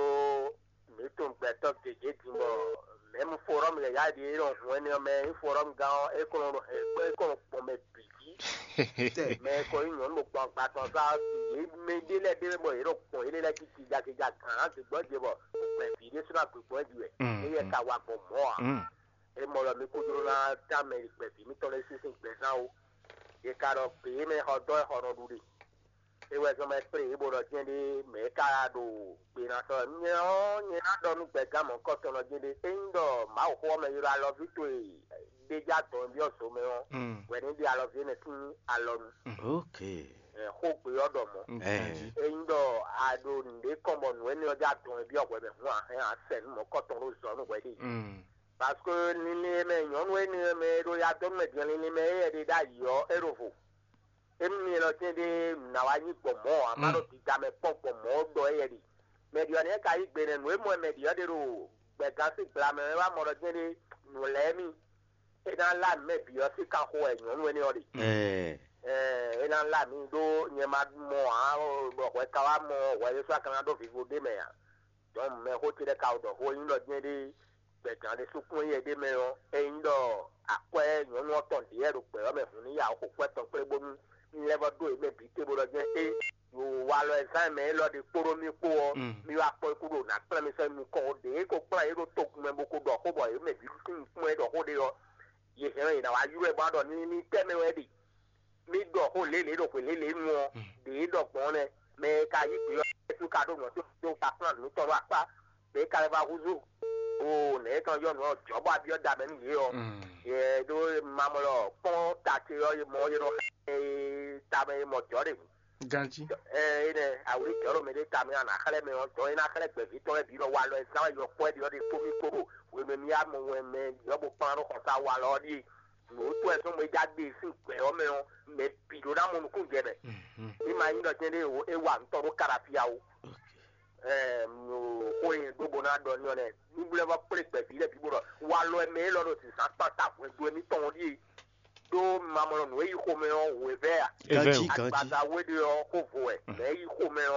mǐ tunwun gbɛtɔ́ gěgé din bɔ mɛ̌mu forɔ́mu lɛ́ɛ yá ɖi é nɔ hun énɛ́ ɔ́ mɛ nyí forɔ́mu gán ɔ́, é kɔn nɔ hɛn gbɔ é kɔn nɔ gbɔn mɛ bǐ jí. Mɛ e kɔ nyí nyɔ̌nu ɖo gbɔn agbatɔn sá yě mɛ ɖé lɛ́ɛ ɖé bɔ yě nɔ gbɔn yě lɛ́ɛ jí gíga gíga gǎn ná gběgbɔ́ ɖě bɔ gbɛ̌ vǐ ɖésú ná gběgbɔ́ ɖi wɛ. Mm, Éyɛ́ mm. Ka wa gbɔn mɔ̌ ǎ. Mm. É mɔ ɖɔ mi kúdó ná dán mɛ e gbɛ̌ vǐ mitɔn lɛ́ɛ sín sín gbɛzán ó. È ka ɖɔ gbě e mɛ xɔ dɔn wɛ xɔ nɔ ɖu ɖe. É wɛ zɔ́n mɛ kplé yě bó ɖɔ jɛ́n ɖé mɛ̌ ka ɖo gbe ná sɔ́ nyɛ ɔ́, nyɛ ná ɖɔ nú gbɛ̌gán mɔ̌kɔtɔn ɔ́ jɛ́n ɖé. Ényí ɖɔ Mawuxó ɔ́ mɛ ylɔ́ alɔví towe ɖé jɛ adɔn byɔ́ zo mɛ ɔ́, Mm. wɛ ní ɖe alɔví énɛ́ sín alɔ nu. Ok. Ɛ, xógbe ɔ́ ɖɔ mɔ̌. Mm, Eh. Ganjí. Ényí ɖɔ a ɖo nǔɖé kɔn bɔ nǔ énɛ́ ɔ́ jɛ adɔn byɔ́ hwɛ mɛ hǔn a hɛn a sɛ nú mɔ̌kɔtɔn ɖó zɔ nú hwɛ ɖe. Mm. Parce que linlin e mɛ nyɔ̌nu énɛ́ e mɛ e ɖo ya dɔn nú mɛ din linlin mɛ éyɛ́ ɖe ɖ'ayǐ ɔ́, é ɖo vo. Émi mi lɔ tɛ́n ɖé nǎ wá nyí gbɔmɔ̌ ǎ, má Mm. ɖo dida mɛ kpɔ́n gbɔmɔ̌ ɔ́ ɖɔ éyɛ́ ɖi. Mɛ ɖi ɔ́ nɛ́ ka yí gbe nɛ́ nǔ e mɔ wɛ mɛ ɖi ɔ́ ɖe ɖo gbɛ̀gán sín gbla mɛ wɛ wá mɔ ɖɔ jɛ́n ɖé nǔ lɛ́ɛ mì. É ná lá nǔ mɛ bǐ ɔ́ sín kanxo wɛ nyɔ̌nu énɛ́ ɔ́ ɖe. É ná lá mì ɖó nyɛ ma mɔ ǎ, bɔ hwɛ ka wá mɔ hwɛ ɖésú a ka ná ɖó vivo ɖé mɛ ǎ. Dɔn mɛxó ce lɛ́ɛ ka ɖɔ xó e nyí ɖɔ jɛ́n ɖé gbɛ̀gán ɖé sukún éyɛ́ ɖé mɛ ɔ́, é nyí ɖɔ akwɛ́ nyɔ̌nu ɔ́ tɔn ɖě wɛ ɖo gbɛ̌ ɔ́ mɛ hun ní ya xo kwɛ́ tɔn kplé bónú ní lɛ́ vɔ́ ɖó yě mɛ bǐ te bó ɖɔ jɛ́n é. Yo walɔ e zán mɛ élɔ́ ɖe kpóɖó mì kpó ɔ́, mi wá kpɔ́n kú ɖo nǎ kplán mi sɛ́ nukɔn ɔ́ ɖě ko kplán yě ɖo togun mɛ bó ko ɖɔ xó bɔ yě mɛ bǐ sín kpɔ́n e ɖɔ xó ɖe ɔ́, yě hɛn ɔ́ yě ná wá ylɔ́ ɛ bó wá ɖɔ ní ní tɛ́ mɛ wɛ ɖe. Mí ɖɔ xó lě lě ɖo xwě lě lě nu ɔ́, ɖě ɖɔ gbɔn nɛ́. Mɛ e ka yí gbě ɔ́, é ka ɖó nǔ ɔ́ tó ka kplán nǔ tɔn ɖó akpá, mɛ e ka lɛ́ vá húzú. O nɛ̌ tɔn yɔ nǔ ɔ́ jɔ̌ bɔ abyɔ́ da mɛ nú yě ɔ́. Yɛ ɖó mamɔ lɔ kpɔ́n ta ce ɔ́, mɔ yé nɔ xlɛ́ e tamɛ e mɔ jɔ̌ ɖe. Ganjí. Ɛ énɛ́ awlí jɔ̌ ɖo mɛ ɖé tamɛ a nǎ xlɛ́ mɛ ɔ́, jɔ̌ é ná xlɛ́ gbɛ̌ví tɔn lɛ́ɛ bǐ nɔ walɔ ɛ zán wɛ yɔkpɔ́ ɛ ɖi ɔ́ ɖe kpó mì kpó ɖo hwenu e mì wá mɔ wɛn mɛ yɔ́ bó kplán ɖó xɔsá walɔ ɔ́ ɖíe. Nǔ tɔn ɛ zɔ́n mɛ ja ɖe sín gbɛ̌ ɔ́ mɛ ɔ́, mɛ bǐ ɖó ná mɔ nukúnnú jɛ mɛ. Ní ma nyí ɖɔ jɛ́n ɖé é wa nǔ tɔn ɖó Kalafia ó. Xó e nyɛ ɖó bó ná ɖɔ ní ɔ́ nɛ́, ní blɛ́ vɔ kplé gbɛ̌ví lɛ́ɛ bǐ bó ɖɔ walɔ ɛ mɛ élɔ́ ɖo zǐnzán kpán ta hwɛndo émítɔn ɔ́ ɖíe. Ɖó mamɔnɔ nǔ e yi xomɛ ɔ́ wěvɛ́ a? Ganjí, ganjí. Agbaza wé ɖé ɔ́ xó vo wɛ, mɛ e yi xomɛ